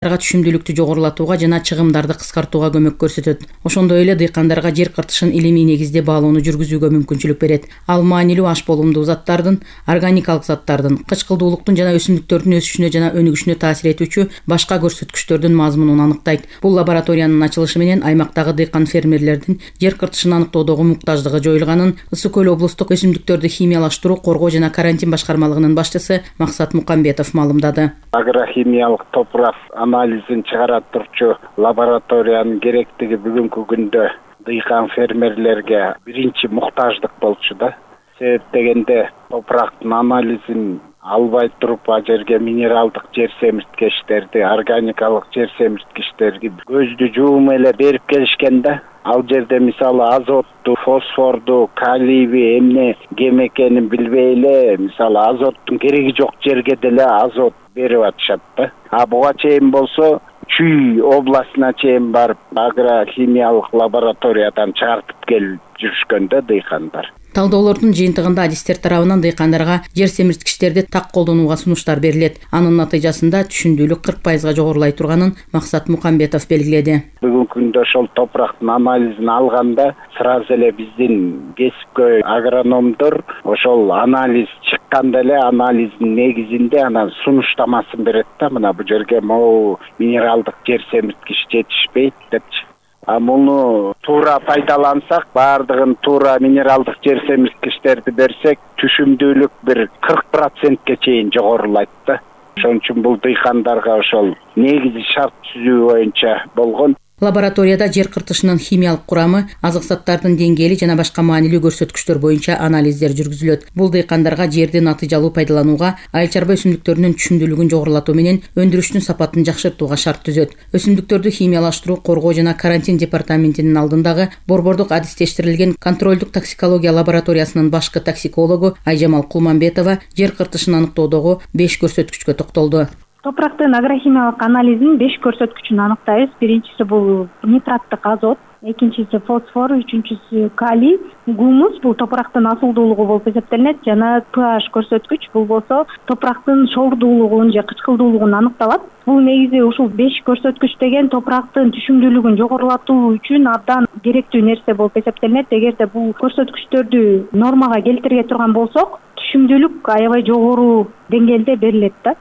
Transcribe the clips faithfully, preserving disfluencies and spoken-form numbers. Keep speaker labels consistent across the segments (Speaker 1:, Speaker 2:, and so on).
Speaker 1: түшүмдүүлүктү жогорулатууга жана чыгымдарды кыскартууга көмөк көрсөтөт. Ошондой эле дыйкандарга жер кыртышын илимий негизде баалоону жүргүзүүгө мүмкүнчүлүк берет. Ал маанилүү аш болумдуу заттардын, органикалык заттардын, кычкылдуулуктун жана өсүмдүктөрдүн өсүшүнө жана өнүгүшүнө таасир этүүчү башка көрсөткүчтөрдүн мазмунун аныктайт. Бул лабораториянын ачылышы менен аймактагы дыйкан фермерлердин жер кыртышын аныктоодогу муктаждыгы жоюлганын Ысык көл облустук өсүмдүктөрдү химиялаштыруу, коргоо жана карантин башкармалыгынын башчысы Максат Мукамбетов маалымдады.
Speaker 2: Агрохимиялык топурак анализин чыгара турчу лабораториянын керектиги бүгүнкү күндө дыйкан фермерлерге биринчи муктаждык болчу да. Себеп дегенде топурактын анализин албай туруп а жерге минералдык жер семирткичтерди, органикалык жер семирткичтерди көздү жуум эле берип келишкен да. Ал жерде мисалы азотту, фосфорду, калийби эмне кем экенин билбей эле, мисалы азоттун кереги жок жерге деле азот берип атышат да. А буга чейин болсо Чүй областына чейин барып агрохимиялык лабораториядан чыгартып келип жүрүшкөн да дыйкандар.
Speaker 1: Талдоолордун жыйынтыгында адистер тарабынан дыйкандарга жер семирткичтерди так колдонууга сунуштар берилет. Анын натыйжасында түшүмдүүлүк кырк пайызга жогорулай турганын Максат Мукамбетов белгиледи.
Speaker 2: Бүгүнкү күндө ошол топурактын анализин алганда сразу эле биздин кесипкөй агрономдор ошол анализ чыкканда эле анализдин негизинде анан сунуштамасын берет да. Мына бу жерге могу минералдык жер семирткич жетишпейт депчи. А муну туура пайдалансак, баардыгын туура минералдык жер семирткичтерди берсек, түшүмдүүлүк бир кырк процентке чейин жогорулайт да. Ошон үчүн бул дыйкандарга ошол негизи шарт түзүү боюнча болгон.
Speaker 1: Лабораторияда жер кыртышынын химиялык курамы, азык заттардын деңгээли жана башка маанилүү көрсөткүчтөр боюнча анализдер жүргүзүлөт. Бул дыйкандарга жерди натыйжалуу пайдаланууга, айыл чарба өсүмдүктөрүнүн түшүмдүүлүгүн жогорулатуу менен өндүрүштүн сапатын жакшыртууга шарт түзөт. Өсүмдүктөрдү химиялаштыруу, коргоо жана карантин департаментинин алдындагы борбордук адистештирилген контролдук токсикология лабораториясынын башкы токсикологу Айжамал Кулманбетова жер кыртышын аныктоодогу беш көрсөткүчкө токтолду.
Speaker 3: Топурактын агрохимиялык анализин беш көрсөткүчүн аныктайбыз. Биринчиси бул нитраттык азот, экинчиси фосфор, үчүнчүсү калий, гумус бул топурактын асылдуулугу болуп эсептелинет жана pH көрсөткүч бул болсо топурактын шоордуулугун же кычкылдуулугун аныкталат. Бул негизи ушул беш көрсөткүч деген топурактын түшүмдүүлүгүн жогорулатуу үчүн абдан керектүү нерсе болуп эсептелинет. Эгерде бул көрсөткүчтөрдү нормага келтирге турган болсок, түшүмдүүлүк аябай жогору деңгээлде берилет да.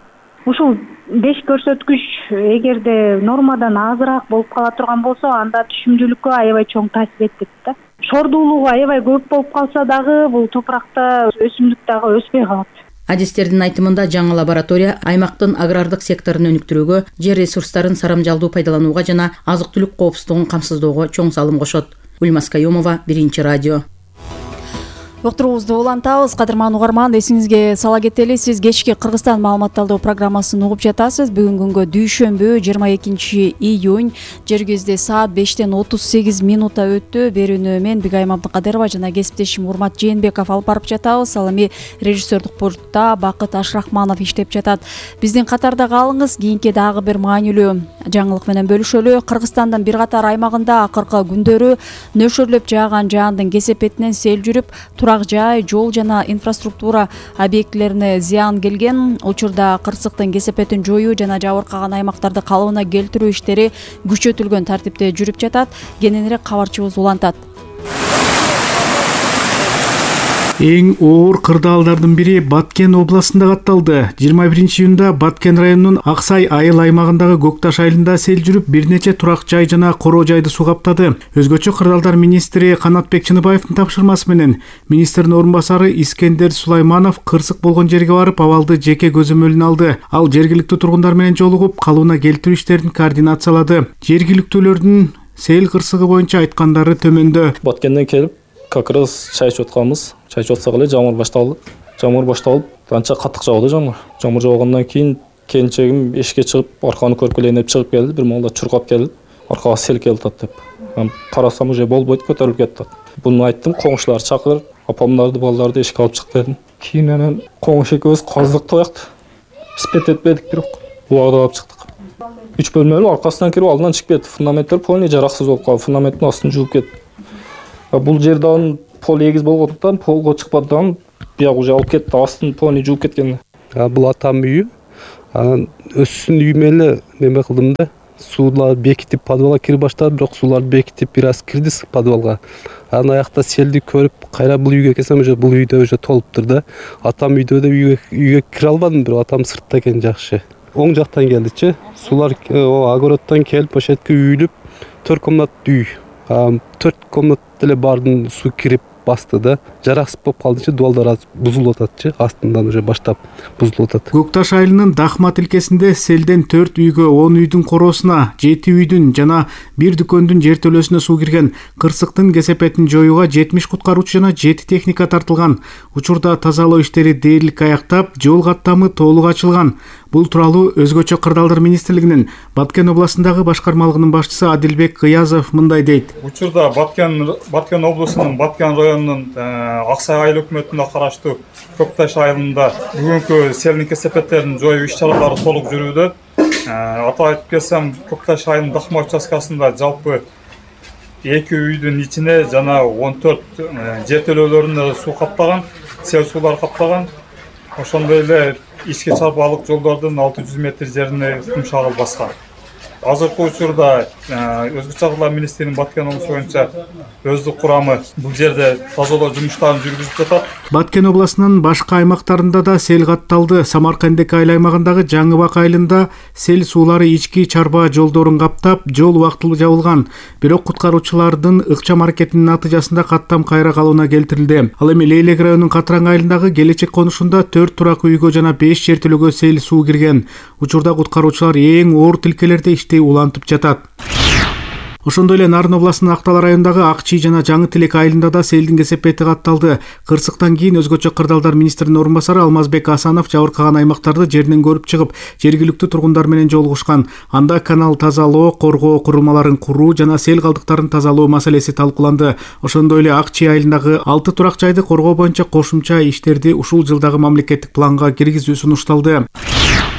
Speaker 3: Ушул беш көрсөткүч эгерде нормадан азыраак болуп кала турган болсо, анда түшүмдүүлүккө аябай чоң таасир этет да. Шоордуулугу аябай көп болуп калса дагы бул топуракта өсүмдүк дагы өспөй калат.
Speaker 1: Адистердин айтымында жаңы лаборатория аймактын агрардык секторун өнүктүрүүгө, жер ресурстарын сарамжалдуу пайдаланууга жана азык-түлүк коопсуздугун камсыздоого чоң салым кошот. Гүлмаз Каюмова, Биринчи радио.
Speaker 4: Уктуруубузду улантабыз. Кадырман угарман, эсиңизге сала кетели, сиз кечки Кыргызстан маалымат талдоо программасын угуп жатасыз. Бүгүн күнгө дүйшөмбү жыйырма экинчи июнь, жергибизде саат бештен отуз сегиз минутта өттү. Берүүнү мен Бигайым Абдыкадырова жана кесиптешим Урмат Жээнбеков алып барып жатабыз. Ал эми режиссердук пультта Бакыт Ашрахманов иштеп жатат. Биздин катарда калыңыз. Кийинки дагы бир маанилүү жаңылык менен бөлүшөлү. Кыргызстандын бир катар аймагында акыркы күндөрү нөшөрлөп жааган жаандын кесепетинен сел жүрүп, турак жай, жол жана инфраструктура объектилерине зыян келген. Учурда кырсыктын кесепетин жоюу жана жабыркаган аймактарды калыбына келтирүү иштери күчөтүлгөн тартипте жүрүп жатат. Кененирээк кабарчыбыз улантат.
Speaker 5: Эң оор кырдаалдардын бири Баткен областында катталды. жыйырма биринчи июнда Баткен районунун Аксай айыл аймагындагы Көкташ айылында сел жүрүп, бир нече турак жай жана короо жайды суу каптады. Өзгөчө кырдаалдар министри Канатбек Чыныбаевдин тапшырмасы менен министрдин орун басары Искендер Сулайманов кырсык болгон жерге барып, абалды жеке көзөмөлүнө алды. Ал жергиликтүү тургундар менен жолугуп, калыбына келтирүү иштерин координациялады. Жергиликтүүлөрдүн сел кырсыгы боюнча айткандары төмөндө.
Speaker 6: Баткенден келип, как раз чай ичип атканбыз. Чай ичип атсак эле жамгыр башталды. Жамгыр башталып, анча катык жауды жамгыр. Жамгыр жаугандан кийин келинчегим эшикке чыгып, арканы көрүп келейин деп чыгып келди. Бир маалда чуркап келди. Аркага сел келип атат деп. Мен карасам уже болбойт, көтөрүлүп кетти. Буну айттым, коңшулар чакыр, апамдарды, балдарды эшикке алып чык дедим. Кийин анан коңуш экөөбүз каздык тоякты. Спет этпедик бирок. Убагда алып чыктык. үч бөлмөлүү, аркасынан кирип алдынан чыгып кетти. Фундаменттер полный жараксыз болуп калды. Фундаменттин астын жууп кетти. Бул жерден пол эгиз болгондуктан полго чыкпадан бияк уже алып кетти, астын полный жууп кеткен.
Speaker 7: Бул атам үйү. Анан өссүн үйүмө эле неме кылдым да. Суулар бекитип подвалга кире баштады, бирок суулар бекитип бир аз кирди подвалга. Анан аякта селди көрүп, кайра бул үйгө келсем, уже бул үйдө уже толуптур да. Атам үйдө да үйгө үйгө кире албадым, бирок атам сыртта экен жакшы. Оң жактан келдичи. Суулар огороддон келип, ошол жерге үйүлүп, төрт комнаттуу үй. төрт комнат эле бардын суу кирип басты да. Жараксыз болуп калдычы, дуалдар аз бузулуп ататчы, астынан уже баштап бузулуп атат.
Speaker 5: Көкташ айылынын Дахма тилкесинде селден төрт үйгө, он үйдүн короосуна, жети үйдүн жана бир дүкөндүн жертөлөсүнө суу кирген. Кырсыктын кесепетин жоюуга жетимиш куткаруучу жана жети техника тартылган. Учурда тазалоо иштери дээрлик аяктап, жол каттамы толук ачылган. Бул тууралуу Өзгөчө кырдаалдар министрлигинин Баткен областындагы башкармалыгынын башчысы Адилбек Кыязов мындай дейт.
Speaker 8: Учурда Баткен Баткен облусунун Баткен районунун Аксай айыл өкмөтүнө караштуу Көкташ айылында бүгүнкү селдин кесепеттерин жоюу иш-чаралары толук жүрүүдө. Атап айтып келсем, Көкташ айылынын Дахма участкасында жалпы эки үйдүн ичине жана он төрт жертөлөлөрүнө суу каптаган, сел суулар каптаган. Ошондой эле ички чарбалык жолдордун алты жүз метр жерине кум шагыл баскан. Азыркы учурда Өзгөчө кырдаалдар министрлигинин Баткен облусу боюнча өздүк курамы бул жерде тазалоо жумуштарын жүргүзүп жатат.
Speaker 5: Баткен областынын башка аймактарында да сел катталды. Самаркандек айыл аймагындагы Жаңыбак айылында сел суулары ички чарба жолдорун каптап, жол убактылуу жабылган. Бирок куткаруучулардын ыкчам аракетинин натыйжасында каттам кайра калууна келтирилди. Ал эми Лейлек районунун Катраң айылындагы Келечек конушунда төрт турак үйгө жана беш жертөлөгө сел суу кирген. Учурда куткаруучулар эң оор тилкелерде ишти улантып жатат. Ошондой эле Нарын областынын Актал районундагы Ак Чий жана Жаңы Тилек айылында да селдин кесепети катталды. Кырсыктан кийин Өзгөчө кырдаалдар министринин орун басары Алмазбек Асанов жабыркаган аймактарды жеринен көрүп чыгып, жергиликтүү тургундар менен жолугушкан. Анда канал тазалоо, коргоо курулмаларын куруу жана сел калдыктарын тазалоо маселеси талкууланды. Ошондой эле Ак Чий айылындагы алты турак жайды коргоо боюнча кошумча иштерди ушул жылдагы мамлекеттик планга киргизүү сунушталды.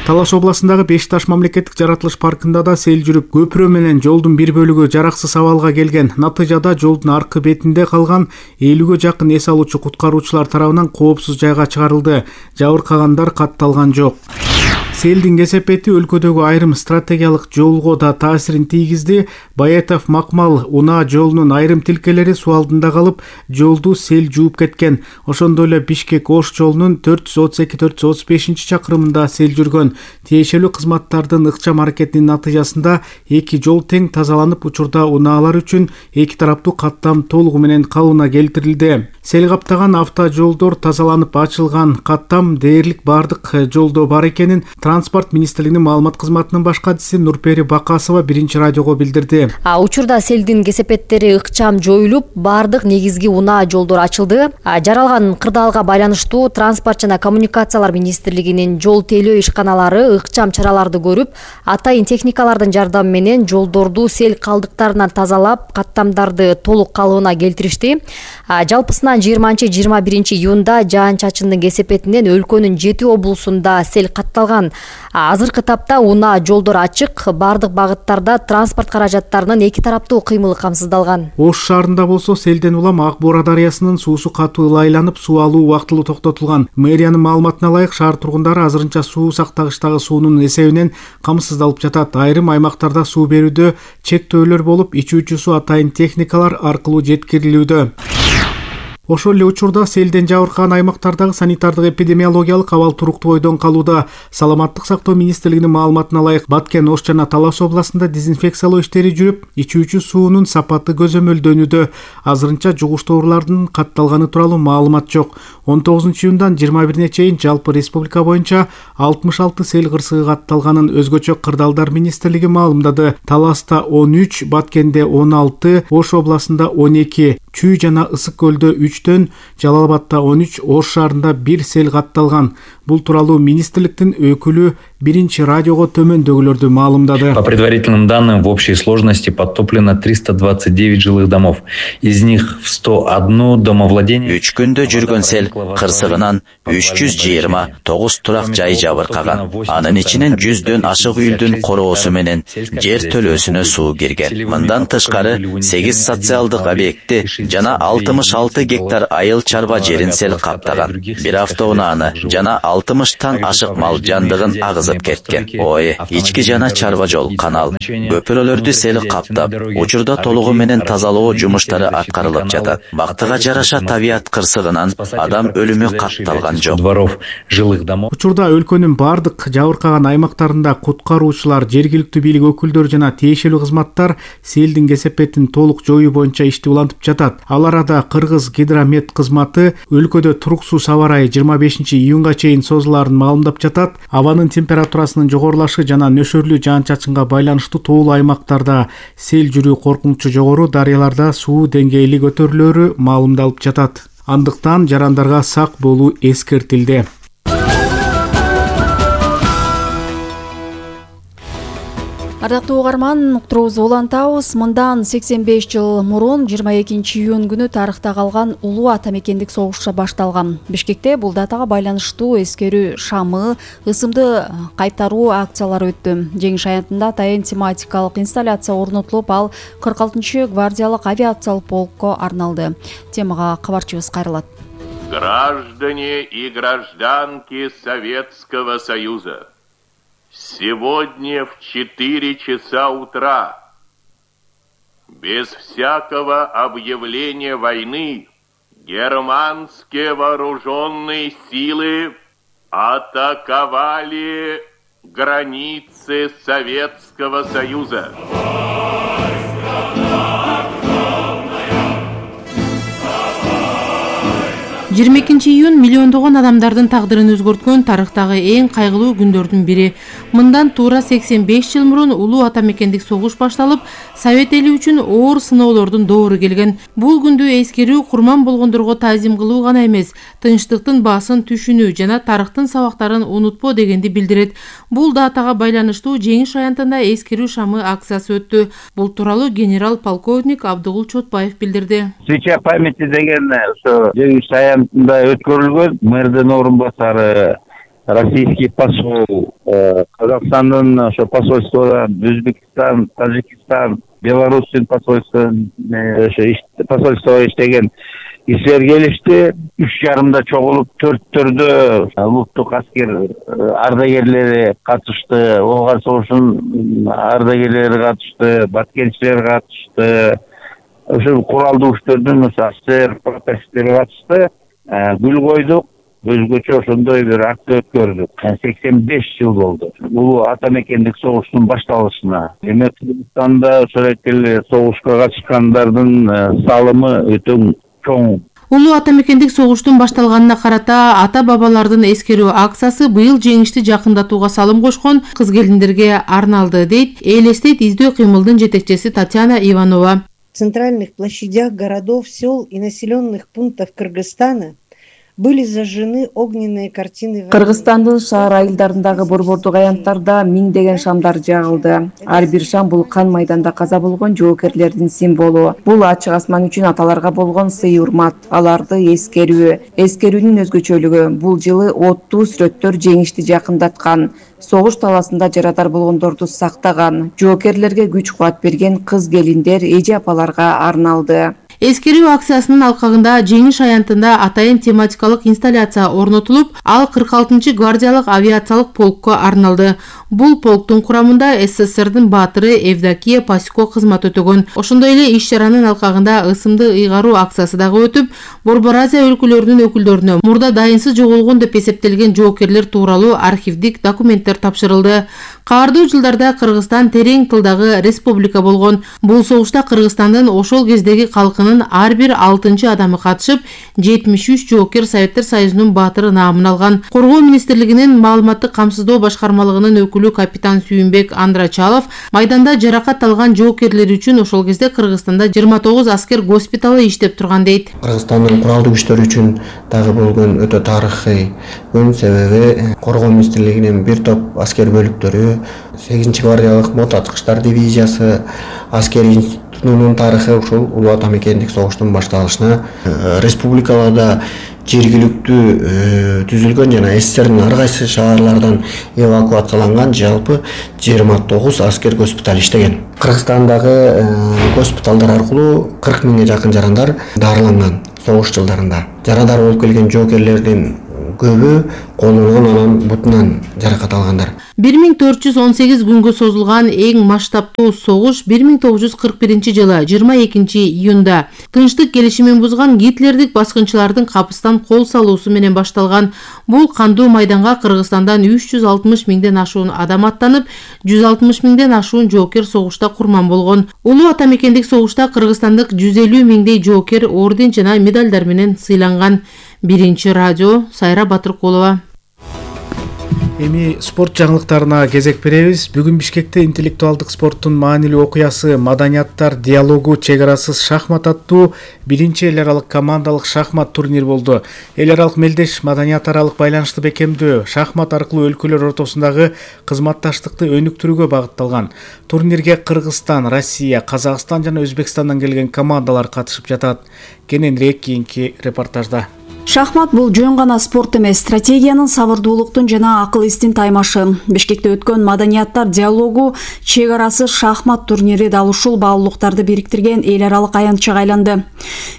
Speaker 5: Талас областындагы Беш Таш мамлекеттик жаратылыш паркында да сел жүрүп, көпүрө менен жолдун бир бөлүгү жараксыз абалга келген. Натыйжада жолдун аркы бетинде калган элүүгө жакын эс алуучу куткаруучулар тарабынан коопсуз жайга чыгарылды. Жабыркагандар катталган жок. Селдин кесепети өлкөдөгү айрым стратегиялык жолго да таасирин тийгизди. Баятов Макмал унаа жолунун айрым тилкелери суу алдында калып, жолду сел жууп кеткен. Ошондой эле Бишкек Ош жолунун төрт жүз отуз эки төрт жүз отуз бешинчи чакырымында сел жүргөн. Тиешелүү кызматтардын ыкчам аракетинин натыйжасында эки жол тең тазаланып, учурда унаалар үчүн эки тараптуу каттам толугу менен калууна келтирилди. Сел каптаган автожолдор тазаланып ачылган. Каттам дээрлик бардык жолдо бар экенин Транспорт министрлигинин маалымат кызматынын баш катчысы Нурпери Бакасова биринчи радиого билдирди.
Speaker 9: А учурда селдин кесепеттери ыкчам жоюлуп, бардык негизги унаа жолдор ачылды. Жаралган кырдаалга байланыштуу Транспорт жана коммуникациялар министрлигинин жол тейлөө ишканалары ыкчам чараларды көрүп, атайын техникалардын жардамы менен жолдорду сел калдыктарынан тазалап, каттамдарды толук калыбына келтиришти. Жалпысынан жыйырманчы жыйырма биринчи июнда жаан-чачындын кесепетинен өлкөнүн жети облусунда сел катталган. Азыркы тапта унаа жолдор ачык, бардык багыттарда транспорт каражаттарынын эки тараптуу кыймылы камсыздалган.
Speaker 5: Ош шаарында болсо селден улам Ак Бура дарыясынын суусу катуу ылайланып, суу алуу убактылуу токтотулган. Мэриянын маалыматына ылайык, шаар тургундары азырынча суу сактагычтагы суунун эсебинен камсыздалып жатат. Айрым аймактарда суу берүүдө чектөөлөр болуп, ичүүчү суу атайын техникалар аркылуу жеткирилүүдө. Ошол эле учурда селден жабыркаган аймактардагы санитардык эпидемиологиялык абал туруктуу бойдон калууда. Саламаттык сактоо министрлигинин маалыматына ылайык, Баткен, Ош жана Талас областында дезинфекциялоо иштери жүрүп, ичүүчү суунун сапаты көзөмөлдөнүүдө. Азырынча жугуштуу оорулардын катталганы тууралуу маалымат жок. он тогузунчу июндан жыйырма бирине чейин жалпы республика боюнча алтымыш алты сел кырсыгы катталганын Өзгөчө кырдаалдар министрлиги маалымдады. Таласта он үч, Баткенде он алты, Ош областында он эки, Чүй жана Ысык көлдө үчтөн, Жалал Абадта он үч, Ош шаарында бир сел катталган. Бул тууралуу министрликтин өкүлү биринчи радиого төмөндөгүлөрдү маалымдады.
Speaker 10: По предварительным данным, в общей сложности подтоплено триста двадцать девять жилых домов. Из них в сто один домовладение.
Speaker 11: Үч күндө жүргөн сел кырсыгынан үч жүз жыйырма тогуз турак жай жабыркаган. Анын ичинен жүздөн ашык үйлдүн короосу менен жер төлөөсүнө суу кирген. Мындан тышкары сегиз социалдык объекти жана алтымыш алты гектар айыл чарба жерин сел каптаган. Бир автоунааны жана алты алтымыштан ашык мал жандыгын агызып кеткен. Ой, ички жана чарба жол, канал, көпүрөлөрдү сел каптап, учурда толугу менен тазалоо жумуштары аткарылып жатат. Бактыга жараша табият кырсыгынан адам өлүмү катталган жок.
Speaker 5: Учурда өлкөнүн бардык жабыркаган аймактарында куткаруучулар, жергиликтүү бийлик өкүлдөрү жана тиешелүү кызматтар селдин кесепетин толук жоюу боюнча ишти улантып жатат. Ал арада Кыргыз гидромет кызматы өлкөдө туруксуз аба ырайы жыйырма бешинчи июнга чейин созулаарын маалымдап жатат. Абанын температурасынын жогорулашы жана нөшөрлүү жаан-чачынга байланыштуу тоолуу аймактарда сел жүрүү коркунучу жогору, дарыяларда суу деңгээли көтөрүлөрү маалымдалып жатат. Андыктан жарандарга сак болуу эскертилди.
Speaker 4: Ардактуу угарман, уктуруубузду улантабыз. Мындан сексен беш жыл мурун жыйырма экинчи июнь күнү тарыхта калган улуу ата мекендик согуш башталган. Бишкекте бул датага байланыштуу эскерүү шамы, ысымды кайтаруу акциялары өттү. Жеңиш аянтында атайын тематикалык инсталляция орнотулуп, ал кырк алтынчы гвардиялык авиациялык полкко арналды. Темага кабарчыбыз кайрылат.
Speaker 12: Граждане и гражданки Советского Союза, сегодня в четыре часа утра, без всякого объявления войны, германские вооруженные силы атаковали границы Советского Союза.
Speaker 1: жыйырма экинчи июнь миллиондогон адамдардын тагдырын өзгөрткөн тарыхтагы эң кайгылуу күндөрдүн бири. Мындан туура сексен беш жыл мурун улуу ата мекендик согуш башталып, Совет эли үчүн оор сыноолордун доору келген. Бул күндү эскерүү курман болгондорго таазим кылуу гана эмес, тынчтыктын баасын түшүнүү жана тарыхтын сабактарын унутпоо дегенди билдирет. Бул датага байланыштуу жеңиш аянтында эскерүү шамы акциясы өттү. Бул тууралуу генерал-полковник Абдыгул Чотбаев билдирди.
Speaker 13: Свеча памяти деген ошо жеңиш аянтында өткөрүлгөн. Мэрдин орун басары, российский посол, Казакстандын ошо посольстводан, Өзбекстан, Тажикстан, Беларустун посольствосун ошо посольствого иштеген кишилер келишти. Үч жарымда чогулуп, төрттөрдө улуттук аскер ардагерлери катышты, Болгар согушунун ардагерлери катышты, баткенчилер катышты. Ошо куралдуу күчтөрдүн офицер, прапорщиктери катышты. Гүл койдук. Өзгөчө ошондой бир акция өткөрдүк. сексен беш жыл болду. Улуу ата мекендик согуштун башталышына. Эми Кыргызстанда ошол эле согушка катышкандардын салымы өтө чоң.
Speaker 1: Улуу ата мекендик согуштун башталганына карата ата бабалардын эскерүү акциясы быйыл жеңишти жакындатууга салым кошкон кыз келиндерге арналды, дейт элестейт издөө кыймылдын жетекчиси Татьяна Иванова.
Speaker 14: В центральных площадях городов, сел и населенных пунктов Кыргызстана были зажжены огненные картины.
Speaker 15: Кыргызстандын шаар айылдарындагы борбордук аянттарда миңдеген шамдар жагылды. Ар бир шам бул кан майданда каза болгон жоокерлердин символу. Бул ачык асман үчүн аталарга болгон сый урмат, аларды эскерүү. Эскерүүнүн өзгөчөлүгү бул жылы оттуу сүрөттөр жеңишти жакындаткан. Согуш таласында жарадар болгондорду сактаган, жоокерлерге күч кубат берген кыз келиндер, эже апаларга арналды.
Speaker 1: Эскерүү акциясынын алкагында жеңиш аянтында атайын тематикалык инсталляция орнотулуп, ал кырк алтынчы гвардиялык авиациялык полкко арналды. Бул полктун курамында СССРдин баатыры Евдокия Пасико кызмат өтөгөн. Ошондой эле иш чаранын алкагында ысымды ыйгаруу акциясы дагы өтүп, Борбор Азия өлкөлөрүнүн өкүлдөрүнө мурда дайынсыз жоголгон деп эсептелген жоокерлер тууралуу архивдик документтер тапшырылды. Каардуу жылдарда Кыргызстан терең тылдагы республика болгон. Бул согушта Кыргызстандын ошол кездеги калкынын ар бир алтынчы адамы катышып, жетимиш үч жоокер Советтер Союзунун баатыры наамын алган. Коргоо министрлигинин маалыматтык камсыздоо башкармалыгынын өкүлү капитан Сүйүнбек Андрачалов майданда жаракат алган жоокерлер үчүн ошол кезде Кыргызстанда жыйырма тогуз аскер госпиталы иштеп турган дейт.
Speaker 16: Кыргызстандын куралдуу күчтөрү үчүн дагы болгон өтө тарыхый күн, себеби коргоо министрлигинин бир топ аскер бөлүктөрү, сегизинчи гвардиялык мотоаткычтар дивизиясы, аскери институтунун тарыхы ушул улуу ата мекендик согуштун башталышына республикаларда жергиликтүү түзүлгөн жана СССРдин ар кайсы шаарлардан эвакуацияланган жалпы жыйырма тогуз аскер госпиталь иштеген. Кыргызстандагы госпиталдар аркылуу кырк миңге жакын жарандар дарыланган согуш жылдарында. Жарандар болуп келген жоокерлердин көбү колунан анан бутунан жаракат алгандар.
Speaker 1: бир миң төрт жүз он сегиз күнгө созулган эң масштабтуу согуш бир миң тогуз жүз кырк биринчи жылы жыйырма экинчи июнда тынчтык келишимин бузган гитлердик баскынчылардын капыстан кол салуусу менен башталган. Бул кандуу майданга Кыргызстандан үч жүз алтымыш миңден ашуун адам аттанып, жүз алтымыш миңден ашуун жоокер согушта курман болгон. Улуу ата мекендик согушта кыргызстандык жүз элүү миңдей жоокер орден жана медалдар менен сыйланган. Биринчи радио, Сайра Батыркулова.
Speaker 5: Эми спорт жаңылыктарына кезек беребиз. Бүгүн Бишкекте интеллектуалдык спорттун маанилүү окуясы Маданияттар диалогу чек арасыз шахмат аттуу биринчи эл аралык командалык шахмат турнир болду. Эл аралык мелдеш маданият аралык байланышты бекемдөө, шахмат аркылуу өлкөлөр ортосундагы кызматташтыкты өнүктүрүүгө багытталган. Турнирге Кыргызстан, Россия, Казакстан жана Өзбекстандан келген командалар катышып жатат. Кененирээк кийинки репортажда.
Speaker 4: Шахмат бул жөн гана спорт эмес, стратегиянын, сабырдуулуктун жана акыл эстин таймашы. Бишкекте өткөн Маданияттар диалогу чек арасыз шахмат турнири дал ушул баалуулуктарды бириктирген эл аралык аянтчага айланды.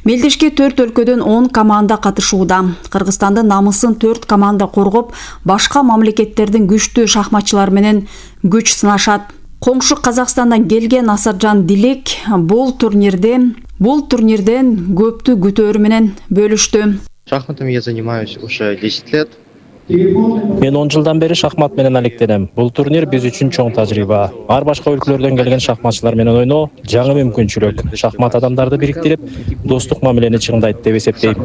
Speaker 4: Мелдешке төрт өлкөдөн он команда катышууда. Кыргызстандын намысын төрт команда коргоп, башка мамлекеттердин күчтүү шахматчылары менен күч сынашат. Коңшу Казакстандан келген Асаржан Дилек бул турнирде бул турнирден көптү күтөөрү менен бөлүштү.
Speaker 17: Шахматами я занимаюсь уже десять лет.
Speaker 6: Мен он жылдан бери шахмат менен алектенем. Бул турнир биз үчүн чоң тажрыйба. Ар башка өлкөлөрдөн келген шахматчылар менен ойноо жаңы мүмкүнчүлүк. Шахмат адамдарды бириктирип, достук мамилени чыңдайт деп эсептейм.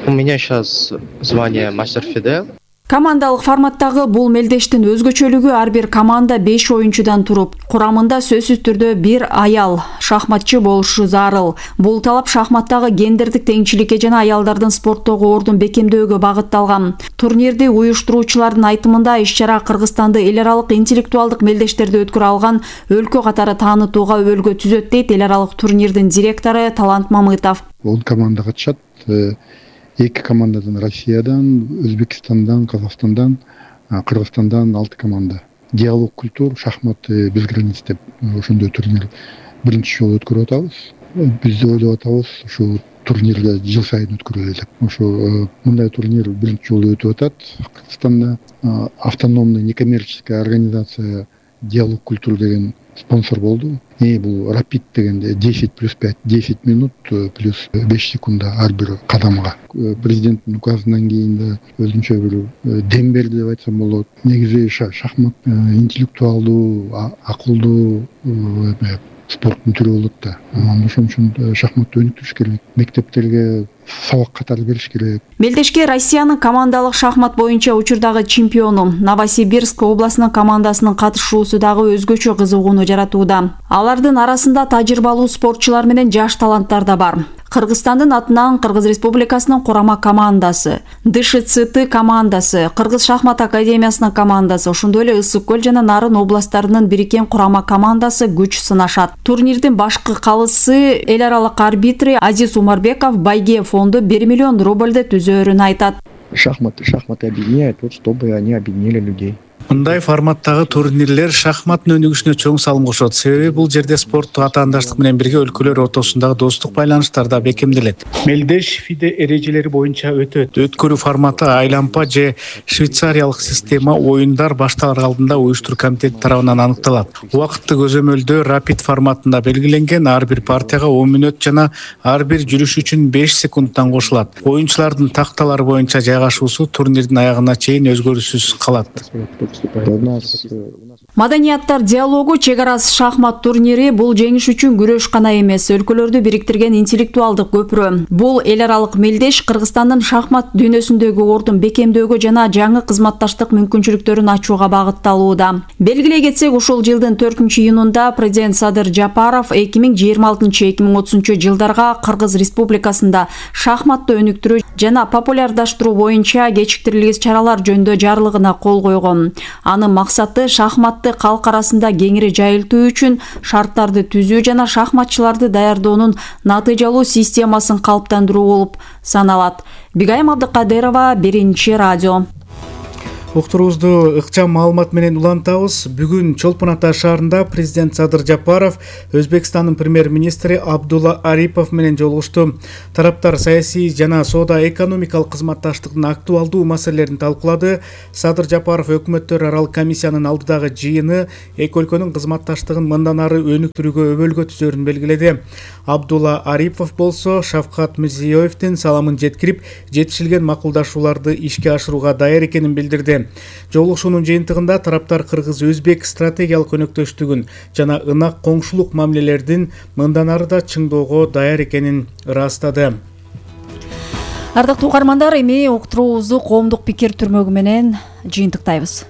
Speaker 17: У меня сейчас звание мастер ФИДЕ.
Speaker 4: Командалык форматтагы бул мелдештин өзгөчөлүгү ар бир команда беш оюнчудан туруп, курамында сөзсүз түрдө бир аял шахматчы болушу зарыл. Бул талап шахматтагы гендердик теңчиликке жана аялдардын спорттогу ордун бекемдөөгө багытталган. Турнирди уюштуруучулардын айтымында иш-чара Кыргызстанды эл аралык интеллектуалдык мелдештерди өткөрө алган өлкө катары таанытууга өбөлгө түзөт дейт эл аралык турнирдин директору Талант Мамытов.
Speaker 18: он команда катышат. Эки командадан Россиядан, Өзбекстандан, Казакстандан, Кыргызстандан алты команда. Диалог культур, шахмат без границ деп ошондой турнир биринчи жолу өткөрүп атабыз. Биз ойлоп атабыз ушу турнирди жыл сайын өткөрөлү деп. Ошо мындай турнир биринчи жолу өтүп атат. Кыргызстанда автономный некоммерческая организация Диалог культур деген спонсор болду. И бул рапид дегенде десять плюс пять, десять минут плюс беш секунда ар бир кадамга. Президенттин указынан кийин да өзүнчө бир дем берди деп айтсам болот. Негизи шахмат интеллектуалдуу, акылдуу спорттун түрү болот да. Ошон үчүн шахматты өнүктүрүш керек. Мектептерге сабак катары бериш керек.
Speaker 4: Мелдешке Россиянын командалык шахмат боюнча учурдагы чемпиону Новосибирск областынын командасынын катышуусу дагы өзгөчө кызыгууну жаратууда. Алардын арасында тажрыйбалуу спортчулар менен жаш таланттар да бар. Кыргызстандын атынан Кыргыз Республикасынын курама командасы, ДШЦТ командасы, Кыргыз шахмат академиясынын командасы, ошондой эле Ысык көл жана Нарын областтарынын бириккен курама командасы күч сынашат. Турнирдин башкы калысы эл аралык арбитри Азиз Умарбеков байге фонду бир миллион рубльды түзөөрүн айтат.
Speaker 19: Шахматы, шахматы объединяют, вот чтобы они объединили людей.
Speaker 5: Мындай форматтагы турнирлер шахматтын өнүгүшүнө чоң салым кошот. Себеби бул жерде спорттук атаандаштык менен бирге өлкөлөр ортосундагы достук байланыштар да бекемделет. Мелдеш ФИДЕ эрежелери боюнча өтөт. Өткөрүү форматы айлампа же швейцариялык система оюндар башталар алдында уюштуруу комитети тарабынан аныкталат. Убакытты көзөмөлдөө рапид форматында белгиленген, ар бир партияга он мүнөт жана ар бир жүрүш үчүн беш секундтан кошулат. Оюнчулардын такталары боюнча жайгашуусу турнирдин аягына чейин өзгөрүүсүз калат.
Speaker 4: Маданияттар диалогу чек арасыз шахмат турнири бул жеңиш үчүн күрөш гана эмес, өлкөлөрдү бириктирген интеллектуалдык көпүрө. Бул эл аралык мелдеш Кыргызстандын шахмат дүйнөсүндөгү ордун бекемдөөгө жана жаңы кызматташтык мүмкүнчүлүктөрүн ачууга багытталууда. Белгилей кетсек, ушул жылдын төртүнчү июнунда президент Садыр Жапаров эки миң жыйырма алтынчы эки миң отузунчу жылдарга Кыргыз Республикасында шахматты өнүктүрүү жана популярдаштыруу боюнча кечиктирилгис чаралар жөнүндө жарлыгына кол койгон. Анын максаты шахматты калк арасында кеңири жайылтуу үчүн шарттарды түзүү жана шахматчыларды даярдоонун натыйжалуу системасын калыптандыруу болуп саналат. Бигайым Абдыкадырова, Биринчи радио.
Speaker 5: Уктуруубузду ыкчам маалымат менен улантабыз. Бүгүн Чолпон Ата шаарында президент Садыр Жапаров Өзбекстандын премьер-министри Абдулла Арипов менен жолугушту. Тараптар саясий жана соода-экономикалык кызматташтыктын актуалдуу маселелерин талкуулады. Садыр Жапаров өкмөттөр аралык комиссиянын алдыдагы жыйыны эки өлкөнүн кызматташтыгын мындан ары өнүктүрүүгө өбөлгө түзөрүн белгиледи. Абдулла Арипов болсо Шавкат Мирзиёевдин саламын жеткирип, жетишилген макулдашууларды ишке ашырууга даяр экенин билдирди. Жолугушуунун жыйынтыгында тараптар кыргыз-өзбек стратегиялык өнөктөштүгүн жана ынак коңшулук мамилелердин мындан ары да чыңдоого даяр экенин ырастады.
Speaker 4: Ардактуу угармандар, эми уктуруубузду коомдук пикир түрмөгү менен жыйынтыктайбыз.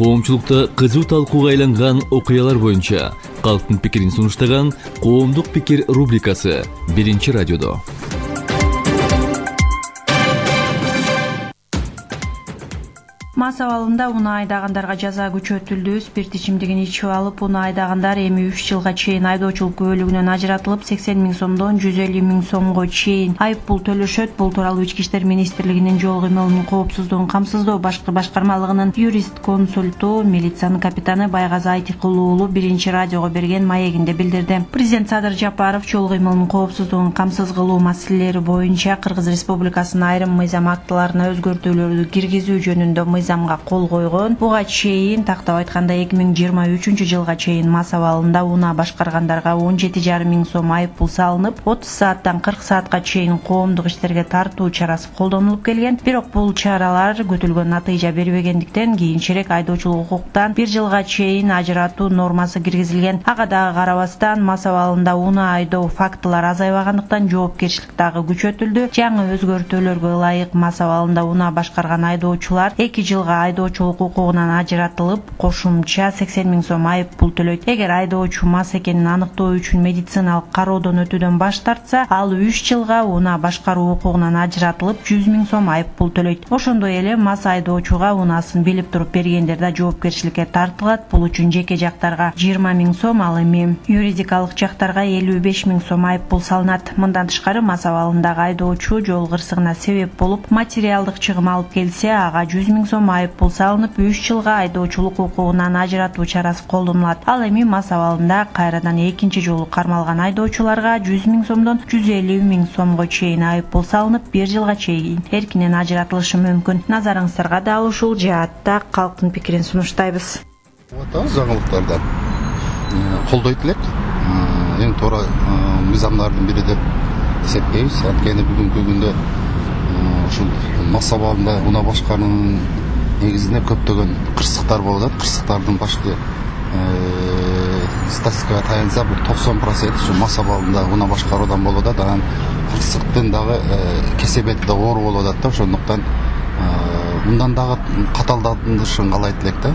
Speaker 20: Коомчулукта кызуу талкууга айланган окуялар боюнча калктын пикирин сунуштаган коомдук пикир рубрикасы биринчи радиодо.
Speaker 21: Мас абалында унаа айдагандарга жаза күчөтүлдү. Спирт ичимдигин ичип алып унаа айдагандар эми үч жылга чейин айдоочулук күбөлүгүнөн ажыратылып, сексен миң сомдон жүз элүү миң сомго чейин айып пул төлөшөт. Бул тууралуу Ички иштер министрлигинин жол кыймылынын коопсуздугун камсыздоо башкы башкармалыгынын юрист консульту, милициянын капитаны Байгазы Айтыкул уулу биринчи радиого берген маегинде билдирди. Президент Садыр Жапаров жол кыймылынын коопсуздугун камсыз кылуу маселелери боюнча Кыргыз Республикасынын айрым мыйзам актыларына өзгөртүүлөрдү киргизүү жөнүндө мыйзамга кол койгон. Буга чейин тактап айтканда эки миң жыйырма үчүнчү жылга чейин мас абалында унаа башкаргандарга он жети жарым миң сом айып пул салынып, отуз сааттан кырк саатка чейин коомдук иштерге тартуу чарасы колдонулуп келген. Бирок бул чаралар күтүлгөн натыйжа бербегендиктен кийинчерээк айдоочулук укуктан бир жылга чейин ажыратуу нормасы киргизилген. Ага дагы карабастан мас абалында унаа айдоо фактылары азайбагандыктан жоопкерчилик дагы күчөтүлдү. Жаңы өзгөртүүлөргө ылайык мас абалында унаа башкарган айдоочулар эки жылга айдоочулук укугунан ажыратылып, кошумча сексен миң сом айып пул төлөйт. Эгер айдоочу мас экенин аныктоо үчүн медициналык кароодон өтүүдөн баш тартса, ал үч жылга унаа башкаруу укугунан ажыратылып, жүз миң сом айып пул төлөйт. Ошондой эле мас айдоочуга унаасын билип туруп бергендер да жоопкерчиликке тартылат. Бул үчүн жеке жактарга жыйырма миң сом, ал эми юридикалык жактарга элүү беш миң сом айып пул салынат. Мындан тышкары мас абалындагы айдоочу жол кырсыгына себеп болуп, материалдык чыгым алып келсе, ага жүз миң сом айып пул салынып, үч жылга айдоочулук укугунан ажыратуу чарасы колдонулат. Ал эми мас абалында кайрадан экинчи жолу кармалган айдоочуларга жүз миң сомдон жүз элүү миң сомго чейин айып пул салынып, бир жылга чейин эркинен ажыратылышы мүмкүн. Назарыңыздарга дал ушул жаатта калктын пикирин сунуштайбыз.
Speaker 22: Жаңылыктардан колдойт элек. Эң туура мыйзамдардын бири деп эсептейбиз. Анткени бүгүнкү күндө ушул мас абалында унаа башкаруунун негизинде көптөгөн кырсыктар болуп атат. Кырсыктардын башкы статистикага таянса, бул токсон процент ушу мас абалында унаа башкаруудан болуп атат. Анан кырсыктын дагы кесепети да оор болуп атат да. Ошондуктан мындан дагы каталданышын каалайт элек да.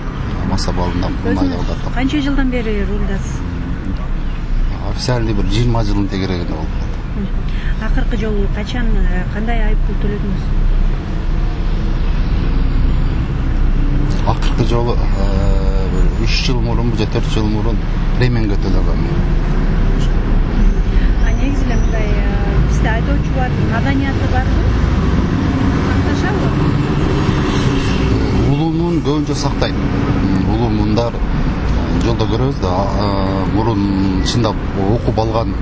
Speaker 22: Мас абалында айдоодо.
Speaker 21: Канча жылдан бери рулдасыз?
Speaker 22: Официальный бир жыйырма жылдын тегерегинде болуп атат.
Speaker 21: Акыркы жолу качан, кандай айып пул төлөдүңүз?
Speaker 22: Акыркы жолу үч жыл мурун же төрт жыл мурун ременге төлөгөм.
Speaker 21: А негизи эле мындай бизде айдоочулардын маданияты барбы? Сакташабы?
Speaker 22: Улуумун көбүнчө сактайт. Улуумундар жолдо көрөбүз да, мурун чындап окуп алган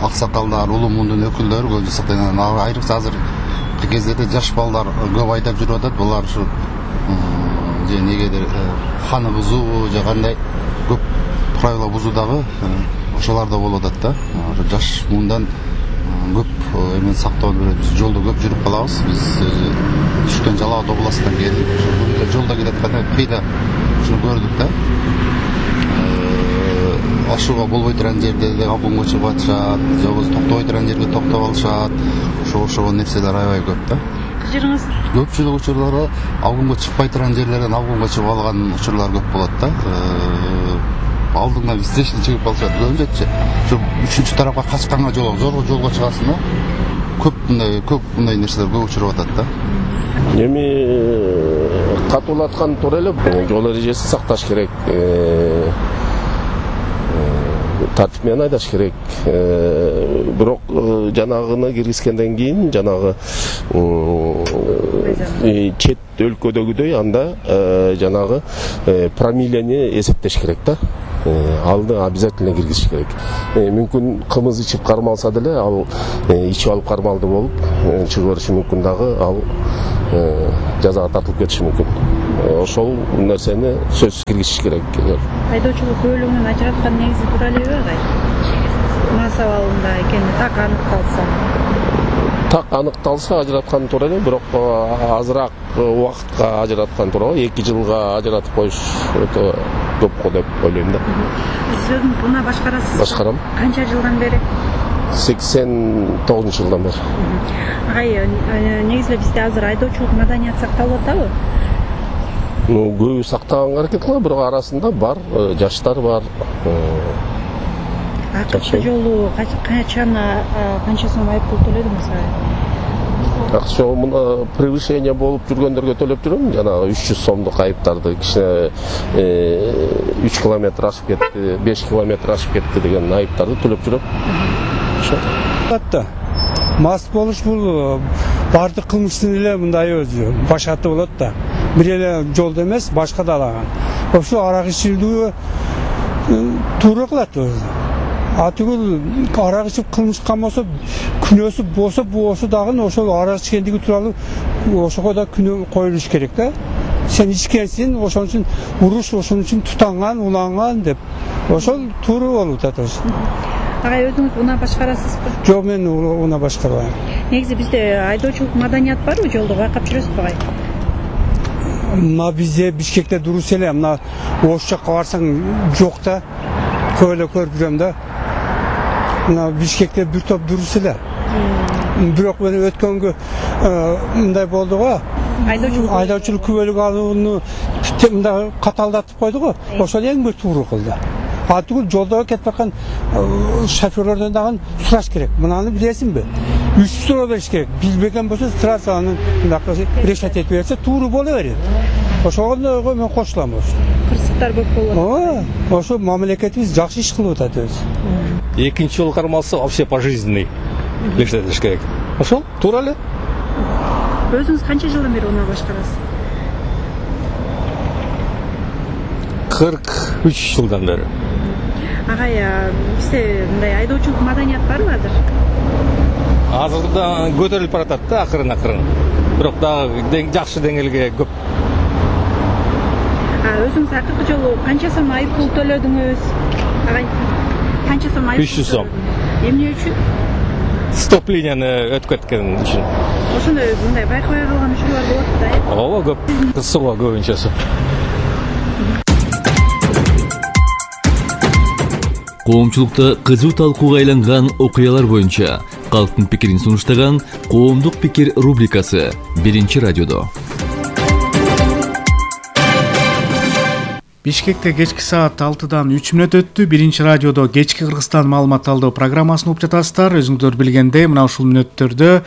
Speaker 22: аксакалдар, улуумундун өкүлдөрү көбүнчө сактайт. Айрыкча азыркы кездерде жаш балдар көп айдап жүрүп атат. Булар ушу же негедир ханы бузуу же кандай көп правила бузуу дагы ошолар да болуп атат да. Жаш мындан көп эмен сактоону беребиз. Жолдо көп жүрүп калабыз. Биз түштөн Жалал Абад областынан келдик. Ошол жолдо келатканда кыйда ушуну көрдүк да. Ашууга болбой турган жерде абунга чыгып атышат, же болбосо токтобой турган жерге токтоп алышат. Ошо ошол нерселер аябай көп да.
Speaker 21: Кыжырыңыз?
Speaker 22: Көпчүлүк учурларда абунга чыкпай турган жерлерден абунга чыгып алган учурлар көп болот да. Алдыңдан встречный чыгып алышат. Көбүнчө ушу үчүнчү тарапка качканга жол, зорго жолго чыгасың да. Көп мындай көп мындай нерселер көп учуруп атат да.
Speaker 23: Эми катуулаткан туура эле жол эрежесин сакташ керек.
Speaker 2: тартип менен айдаш керек. Бирок жанагыны киргизгенден кийин жанагы чет өлкөдөгүдөй анда жанагы промиллени эсептеш керек да. Алды обязательно киргизиш керек. Мүмкүн кымыз ичип кармалса деле ал ичип алып кармалды болуп чыгып бериши мүмкүн дагы, ал жазага тартылып кетиши мүмкүн. Ошол нерсени сөзсүз киргизиш керек.
Speaker 21: Айдоочулук күбөлүгүнөн ажыраткан негизи туура элеби агай? Мас абалында экени так аныкталса.
Speaker 2: Так аныкталса ажыраткан туура эле, бирок азыраак убакытка ажыраткан туура. эки жылга ажыратып коюш өтө көп го деп ойлойм да.
Speaker 21: Сиз өзүңүз унаа башкарасыз?
Speaker 2: Башкарам.
Speaker 21: Канча жылдан бери?
Speaker 2: сексен тогузунчу жылдан бери.
Speaker 21: Агай, негизи бизде азыр айдоочулук маданият сакталып атабы?
Speaker 2: Ну, көбү сактаганга аракет кылат, бирок арасында бар, жаштар бар.
Speaker 21: Акыркы жолу качан канча сом айыппул төлөдүңүз?
Speaker 2: Акча жолу мына превышение болуп жүргөндөргө төлөп жүрөм, жанагы үч жүз сомдук айыптарды, кичине үч километр ашып кетти, беш километр ашып кетти деген айыптарды төлөп жүрөм.
Speaker 3: Ошо. Мас болуш бул бардык кылмыштын эле мындай өзү башаты болот да. Бир эле жолдо эмес, башка да алаган. Ошо арак ичүүдө туура кылат өзү. А түгүл арак ичип кылмышка болсо, күнөөсү болсо, болсо дагы ошол арак ичкендиги тууралуу ошого да күнөө коюлуш керек да. Сен ичкенсиң, ошон үчүн уруш, ошон үчүн тутанган, уланган деп. Ошол туура болуп атат.
Speaker 21: Агай, өзүңүз унаа башкарасызбы?
Speaker 3: Жок, мен унаа башкарбайм.
Speaker 21: Негизи бизде айдоочулук маданият барбы жолдо, байкап жүрөсүзбү агай?
Speaker 3: Мына бизде Бишкекте дурус эле, мына ош жакка барсаң жок да. Көп эле көрүп жүрөм да. Мына Бишкекте бир топ дурус эле. Бирок мен өткөнгө мындай болду го.
Speaker 21: Айдоочулук
Speaker 3: айдоочулук күбөлүк алууну мындай каталдатып койду го. Ошол эң бир туура кылды. А түгүл жолдо кетип аткан шоферлордон дагы сураш керек. Мынаны билесиңби? Үч суроо бериш керек. Билбеген болсо сразу аны мындакы решать этип берсе туура боло берет. Ошого мен кошулам ошо.
Speaker 21: Кырсыктар көп болот.
Speaker 3: Ошо мамлекетибиз жакшы иш кылып атат өзү.
Speaker 23: Экинчи жол кармалса вообще пожизненный решать этиш керек. Ошол туура эле.
Speaker 21: Өзүңүз канча жылдан бери унаа башкарасыз?
Speaker 23: кырк үч жылдан бери.
Speaker 21: Агай, бизде мындай айдоочулук маданият барбы азыр?
Speaker 23: Азырда көтөрүлүп баратат да акырын акырын. Бирок дагы жакшы деңгээлге көп.
Speaker 21: А өзүңүз акыркы жолу канча сом айыппул төлөдүңүз? Агай, канча сом айыппул?
Speaker 23: үч жүз сом.
Speaker 21: Эмне үчүн?
Speaker 23: Стоп-линияны өтүп кеткен үчүн.
Speaker 21: Ошондой мындай байкабай калган учурлар болот да, э?
Speaker 23: Ооба, көп. Кысылга көбүнчөсү.
Speaker 20: Коомчулукта кызуу талкууга айланган окуялар боюнча калктын пикирин сунуштаган Коомдук пикир рубрикасы биринчи радиодо.
Speaker 5: Бишкекте кечки саат алтыдан үч мүнөт өттү. Биринчи радиодо кечки Кыргызстан маалымат талдоо программасын угуп жатасыздар. Өзүңүздөр билгендей, мына ушул мүнөттөрдө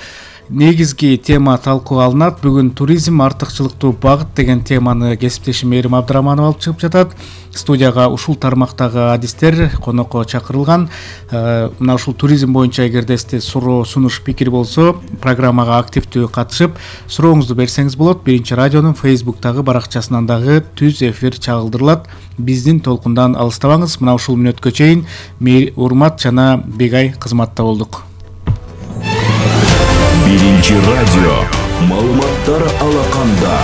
Speaker 5: негизги тема талкууга алынат. Бүгүн туризм артыкчылыктуу багыт деген теманы кесиптешим Мээрим Абдыраманов алып чыгып жатат. Студияга ушул тармактагы адистер конокко чакырылган. Мына ушул туризм боюнча эгерде сизде суроо, сунуш, пикир болсо, программага активдүү катышып, сурооңузду берсеңиз болот. Биринчи радионун Facebooktагы баракчасынан дагы түз эфир чагылдырылат. Биздин толкундан алыстабаңыз. Мына ушул мүнөткө чейин Урмат жана Бегай кызматта болдук.
Speaker 24: Биринчи радио маалыматтар алаканда.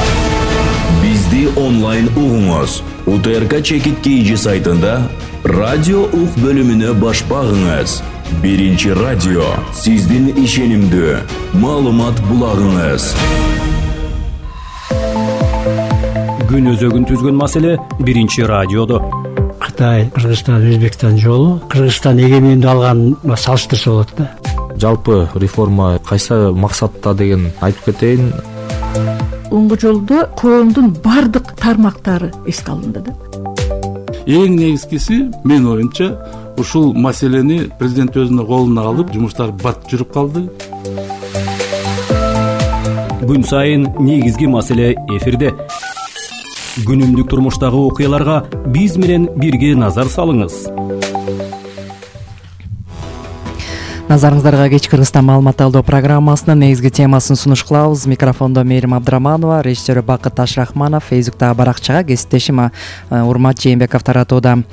Speaker 24: Бизди онлайн угуңуз. УТРК Чекит Кейжи сайтында радио ук бөлүмүнө баш багыңыз. Биринчи радио сиздин ишенимдүү маалымат булагыңыз.
Speaker 25: Күн өзөгүн түзгөн маселе биринчи радиодо.
Speaker 26: Кытай, Кыргызстан, Өзбекстан жолу, Кыргызстан эгемендүүлүк алган салыштырса болот да.
Speaker 27: Жалпы реформа кайсы максатта деген айтып кетейин.
Speaker 28: Оңго жолдо коомдун бардык тармактары эске алынды да.
Speaker 29: Эң негизгиси мен оюмча ушул маселени президент өзүнүн колуна алып, жумуштар бат жүрүп калды.
Speaker 25: Күн сайын негизги маселе эфирде. Күнүмдүк турмуштагы окуяларга биз менен бирге назар салыңыз.
Speaker 7: Назарыңыздарга кеч Кыргызстан маалымат алуу программасынын негизги темасын сунуш кылабыз. Микрофондо Мээрим Абдыраманова, режиссер Бакыт Ташрахманов, Фейсбуктагы баракчага кесиптешим Урмат Жээнбеков таратууда.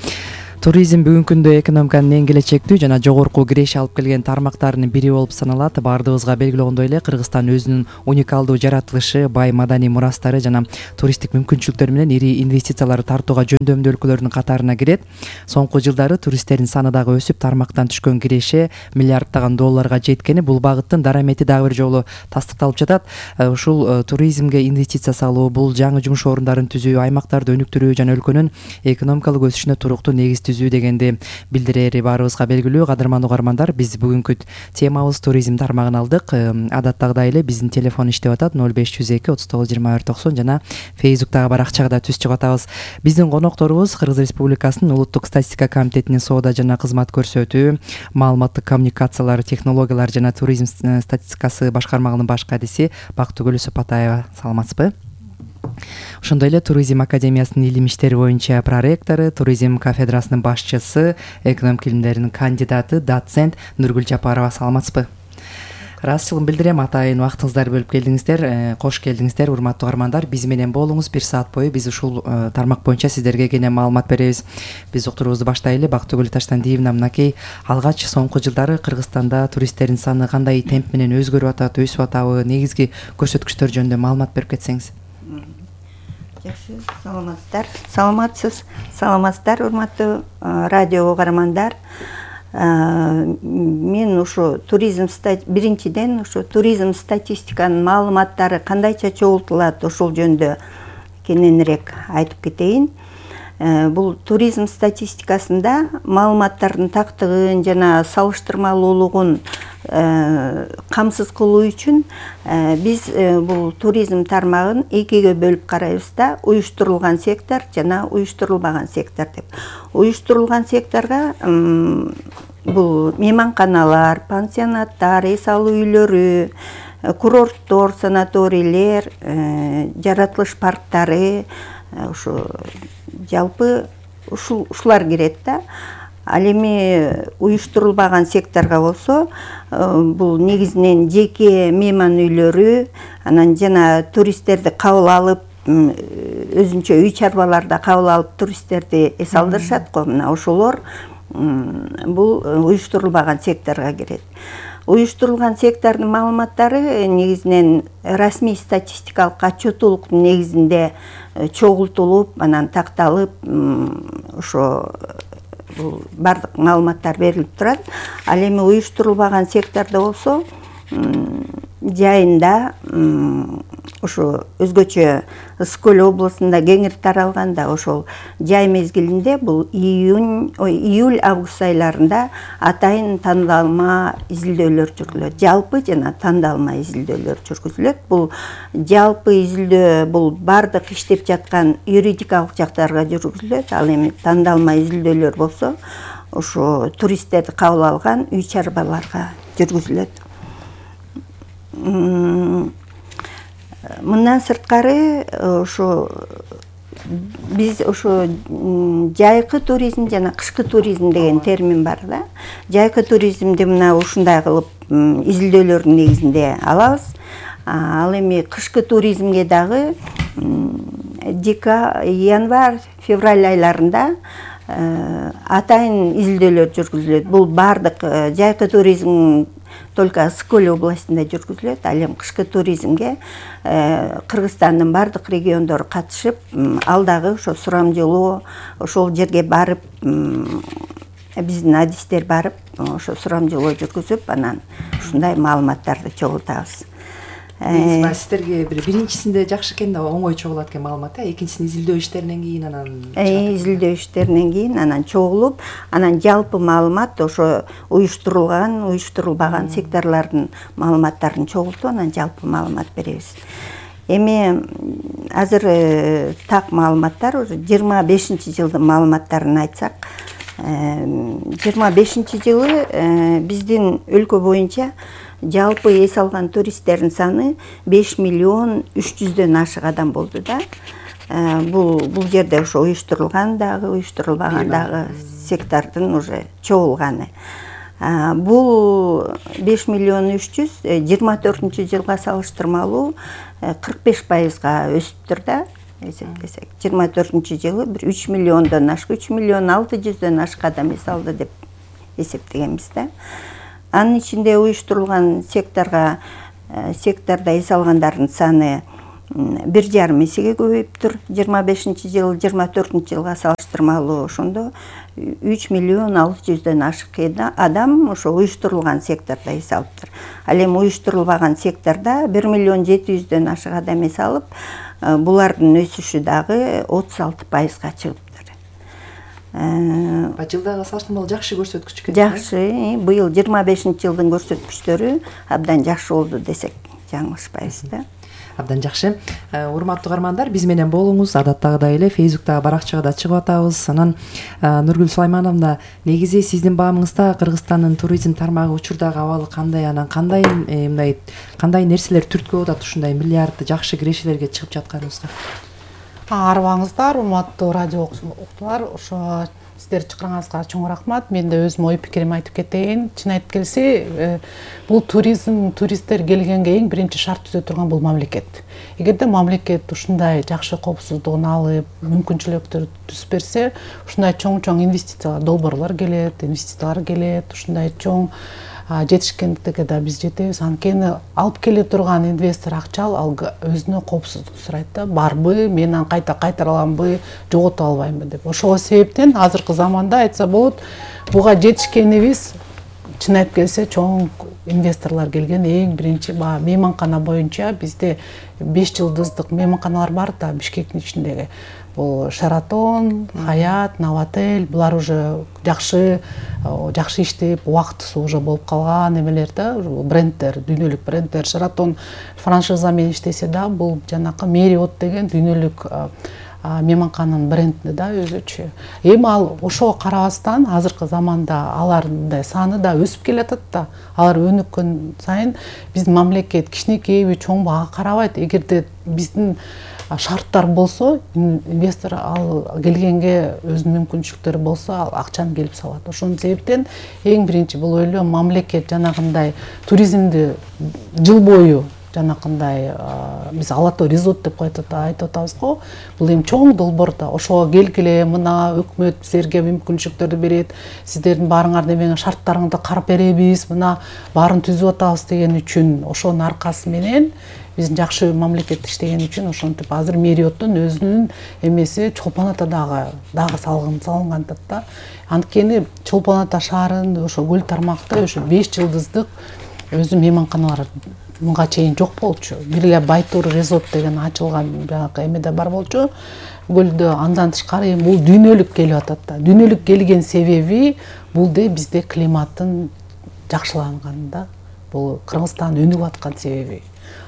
Speaker 7: Туризм бүгүнкү күндө экономиканын эң келечектүү жана жогорку киреш алып келген тармактарынын бири болуп саналат. Бардыгыбызга белгилүү эле Кыргызстан өзүнүн уникалдуу жаратылышы, бай маданий мурастары жана туристтик мүмкүнчүлүктөр менен ири инвестициялар тартууга жөндөмдүү өлкөлөрдүн катарына кирет. Соңку жылдары туристтердин саны дагы өсүп, тармактан түшкөн киреше миллиарддаган долларга жеткени бул багыттын дарамети дагы бир жолу тастыкталып жатат. Ушул туризмге инвестиция салуу, бул жаңы жумуш орундарын түзүү, аймактарды өнүктүрүү жана өлкөнүн экономикалык өсүшүнө туруктуу негиз түзүү дегенди билдирери баарыбызга белгилүү. Кадырман угармандар, биз бүгүнкү темабыз туризм тармагын алдык. Адаттагыдай эле биздин телефон иштеп атат ноль беш жүз эки отуз тогуз жыйырма бир токсон жана Фейсбуктагы баракчага да түз чыгып атабыз. Биздин конокторубуз Кыргыз Республикасынын Улуттук статистика комитетинин соода жана кызмат көрсөтүү, маалыматтык коммуникациялар, технологиялар жана туризм статистикасы башкармагынын баш кадиси Бактыгүл Сапатаева. Саламатсызбы? Ошондой эле Туризм академиясынын илим иштери боюнча проректору, туризм кафедрасынын башчысы, экономика илимдеринин кандидаты, доцент Нургүл Жапарова. Саламатсызбы? Ыраазычылыгымды билдирем, атайын убактыңыздарды бөлүп келдиңиздер. Кош келдиңиздер, урматтуу угармандар. Биз менен болуңуз. Бир саат бою биз ушул тармак боюнча сиздерге кенен маалымат беребиз. Биз уктуруубузду баштайлы. Бактыгүл Таштандиевна, мынакей алгач соңку жылдары Кыргызстанда туристтердин саны кандай темп менен өзгөрүп атат, өсүп атабы? Негизги көрсөткүчтөр жөнүндө маалымат берип кетсеңиз.
Speaker 8: Жакшы, саламатсыздар. Саламатсыз. Саламатсыздар, урматтуу радио угармандар. Мен ушу туризм биринчиден ушу туризм статистиканын маалыматтары кандайча чогултулат, ошол жөнүндө кененирээк айтып кетейин. Бул туризм статистикасында маалыматтардын тактыгын жана салыштырмалуулугун камсыз кылуу үчүн биз бул туризм тармагын экиге бөлүп карайбыз да, уюштурулган сектор жана уюштурулбаган сектор деп. Уюштурулган секторго бул мейманканалар, пансионаттар, эс алуу үйлөрү, курорттор, санаторийлер, жаратылыш парктары, ушу жалпы ушулар кирет да. Ал эми уюштурулбаган секторго болсо, бул негизинен жеке мейман үйлөрү, анан жана туристтерди кабыл алып, өзүнчө үй чарбаларда кабыл алып туристтерди эс алдырышат го. Мына ошолор бул уюштурулбаган секторго кирет. Уюштурулган сектордун маалыматтары негизинен расмий статистикалык отчетулуктун негизинде чогултулуп, анан такталып, ошо бул бардык маалыматтар берилип турат. Ал эми уюштурулбаган сектордо болсо, жайында ошо өзгөчө Ысык көл облусунда кеңири таралганда, ошол жай мезгилинде бул июнь, ой, июль, август айларында атайын тандалма изилдөөлөр жүргүзүлөт. Жалпы жана тандалма изилдөөлөр жүргүзүлөт. Бул жалпы изилдөө бул бардык иштеп жаткан юридикалык жактарга жүргүзүлөт. Ал эми тандалма изилдөөлөр болсо, ошо туристтерди кабыл алган үй чарбаларга жүргүзүлөт. Мындан сырткары ошо биз ошо жайкы туризм жана кышкы туризм деген термин бар да. Жайкы туризмди мына ушундай кылып изилдөөлөрдүн негизинде алабыз. Ал эми кышкы туризмге дагы декабрь, январь, февраль айларында атайын изилдөөлөр жүргүзүлөт. Бул бардык жайкы туризм только Ысык көл областында жүргүзүлөт. Ал эми кышкы туризмге Кыргызстандын бардык региондору катышып, ал дагы ошо сурамжылоо, ошол жерге барып, биздин адистер барып, ошо сурамжылоо жүргүзүп, анан ушундай маалыматтарды чогултабыз.
Speaker 7: Сиздерге биринчисинде жакшы экен да, оңой чогулат экен маалымат, экинчисин изилдөө иштеринен кийин анан
Speaker 8: изилдөө иштеринен кийин анан чогулуп, анан жалпы маалымат ошо уюштурулган, уюштурулбаган секторлордун маалыматтарын чогултуп, анан жалпы маалымат беребиз. Эми азыр так маалыматтар уже жыйырма бешинчи жылдын маалыматтарын айтсак, жыйырма бешинчи жылы биздин өлкө боюнча жалпы эс алган туристтердин саны беш миллион үч жүздөн ашык адам болду да. Бул бул жерде ошо уюштурулган дагы, уюштурулбаган дагы сектордун уже чогулганы. Бул беш миллион үч жүз жыйырма төртүнчү жылга салыштырмалуу кырк беш пайызга өсүптүр да. Эсептесек жыйырма төртүнчү жылы бир үч миллиондон ашык, үч миллион алты жүздөн ашык адам эс алды деп эсептегенбиз да. Анын ичинде уюштурулган секторго сектордо эс алгандардын саны бир жарым эсеге көбөйүптүр. жыйырма бешинчи жыл жыйырма төртүнчү жылга салыштырмалуу ошондо үч миллион алты жүздөн ашык адам ошо уюштурулган сектордо эс алыптыр. Ал эми уюштурулбаган сектордо бир миллион жети жүздөн ашык адам эс алып, булардын өсүшү дагы отуз алты пайызга чыгыптыр.
Speaker 7: Жылдагы салыштырмалуу жакшы көрсөткүч экен.
Speaker 8: Жакшы, быйыл жыйырма бешинчи жылдын көрсөткүчтөрү абдан жакшы болду десек жаңылышпайбыз да.
Speaker 7: Абдан жакшы. Урматтуу угармандар, биз менен болуңуз. Адаттагыдай эле Фейсбуктагы баракчага да чыгып атабыз. Анан Нургүл Сулаймановна, негизи сиздин баамыңызда Кыргызстандын туризм тармагы учурдагы абалы кандай, анан кандай мындай кандай нерселер түрткү болуп атат ушундай миллиардды жакшы кирешелерге чыгып жатканыбызга?
Speaker 1: Арыбаңыздар, урматтуу радио уктуулар, ошо сиздер чакырганыңызга чоң рахмат. Мен да өзүм ой пикиримди айтып кетейин. Чын айтып келсе, бул туризм, туристтер келгенге эң биринчи шарт түзө турган бул мамлекет. Эгерде мамлекет ушундай жакшы коопсуздугун алып, мүмкүнчүлүктөр түзүп берсе, ушундай чоң-чоң инвестициялар, долбоорлор келет, инвестициялар келет, ушундай чоң жетишкендикке да биз жетебиз. Анткени алып келе турган инвестор акча ал өзүнө коопсуздук сурайт да, барбы, мен аны кайта кайтара аламбы, жогото албаймбы деп. Ошол себептен азыркы заманда айтса болот, буга жетишкенибиз чын айтып келсе чоң инвесторлор келген эң биринчи баягы мейманкана боюнча бизде беш жылдыздык мейманканалар бар да Бишкектин ичиндеги. Бул Шератон, Хаят, Новотель, булар уже жакшы жакшы иштеп, убактысы уже болуп калган эмелер да, брендтер, дүйнөлүк брендтер. Шератон франшиза менен иштесе да, бул жанакы Marriott деген дүйнөлүк мейманкананын бренди да өзүчө. Эми ал ошого карабастан азыркы заманда алардын саны да өсүп келатат да. Алар өнүккөн сайын биздин мамлекет кичинекейби, чоңбу ага карабайт. Эгерде биздин шарттар болсо, инвестор ал келгенге өзүнүн мүмкүнчүлүктөрү болсо, ал акчаны келип салат. Ошон себептен эң биринчи бул ойлойм, мамлекет жанагындай туризмди жыл бою жанакындай биз Алато Резорт деп айтып атабыз го. Бул эми чоң долбоор да. Ошого келгиле, мына өкмөт силерге мүмкүнчүлүктөрдү берет. Сиздердин баарыңарды менен шарттарыңды карап беребиз, мына баарын түзүп атабыз деген үчүн, ошонун аркасы менен биздин жакшы мамлекет иштеген үчүн ошентип азыр Marriottун өзүнүн эмеси Чолпон Ата дагы дагы салгын салынган да. Анткени Чолпон Ата шаарында ошо көл тармакта ошо беш жылдыздык өзү мейманканалар мынга чейин жок болчу. Бир эле Байтур Резорт деген ачылган жанагы эмеде бар болчу. Көлдө андан тышкары эми бул дүйнөлүк келип атат да. Дүйнөлүк келген себеби бул де бизде климаттын жакшыланганы да. Бул Кыргызстан өнүгүп аткан себеби.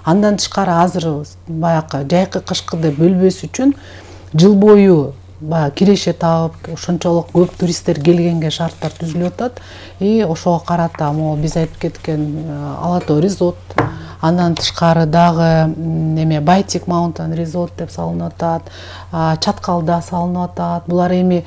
Speaker 1: Андан тышкары азыр баягы жайкы кышкы деп бөлбөс үчүн жыл бою баягы киреше таап, ошончолук көп туристтер келгенге шарттар түзүлүп атат. И ошого карата могу биз айтып кеткен Алато Резорт, андан тышкары дагы эме Байтик Маунтин Резорт деп салынып атат, Чаткалда салынып атат. Булар эми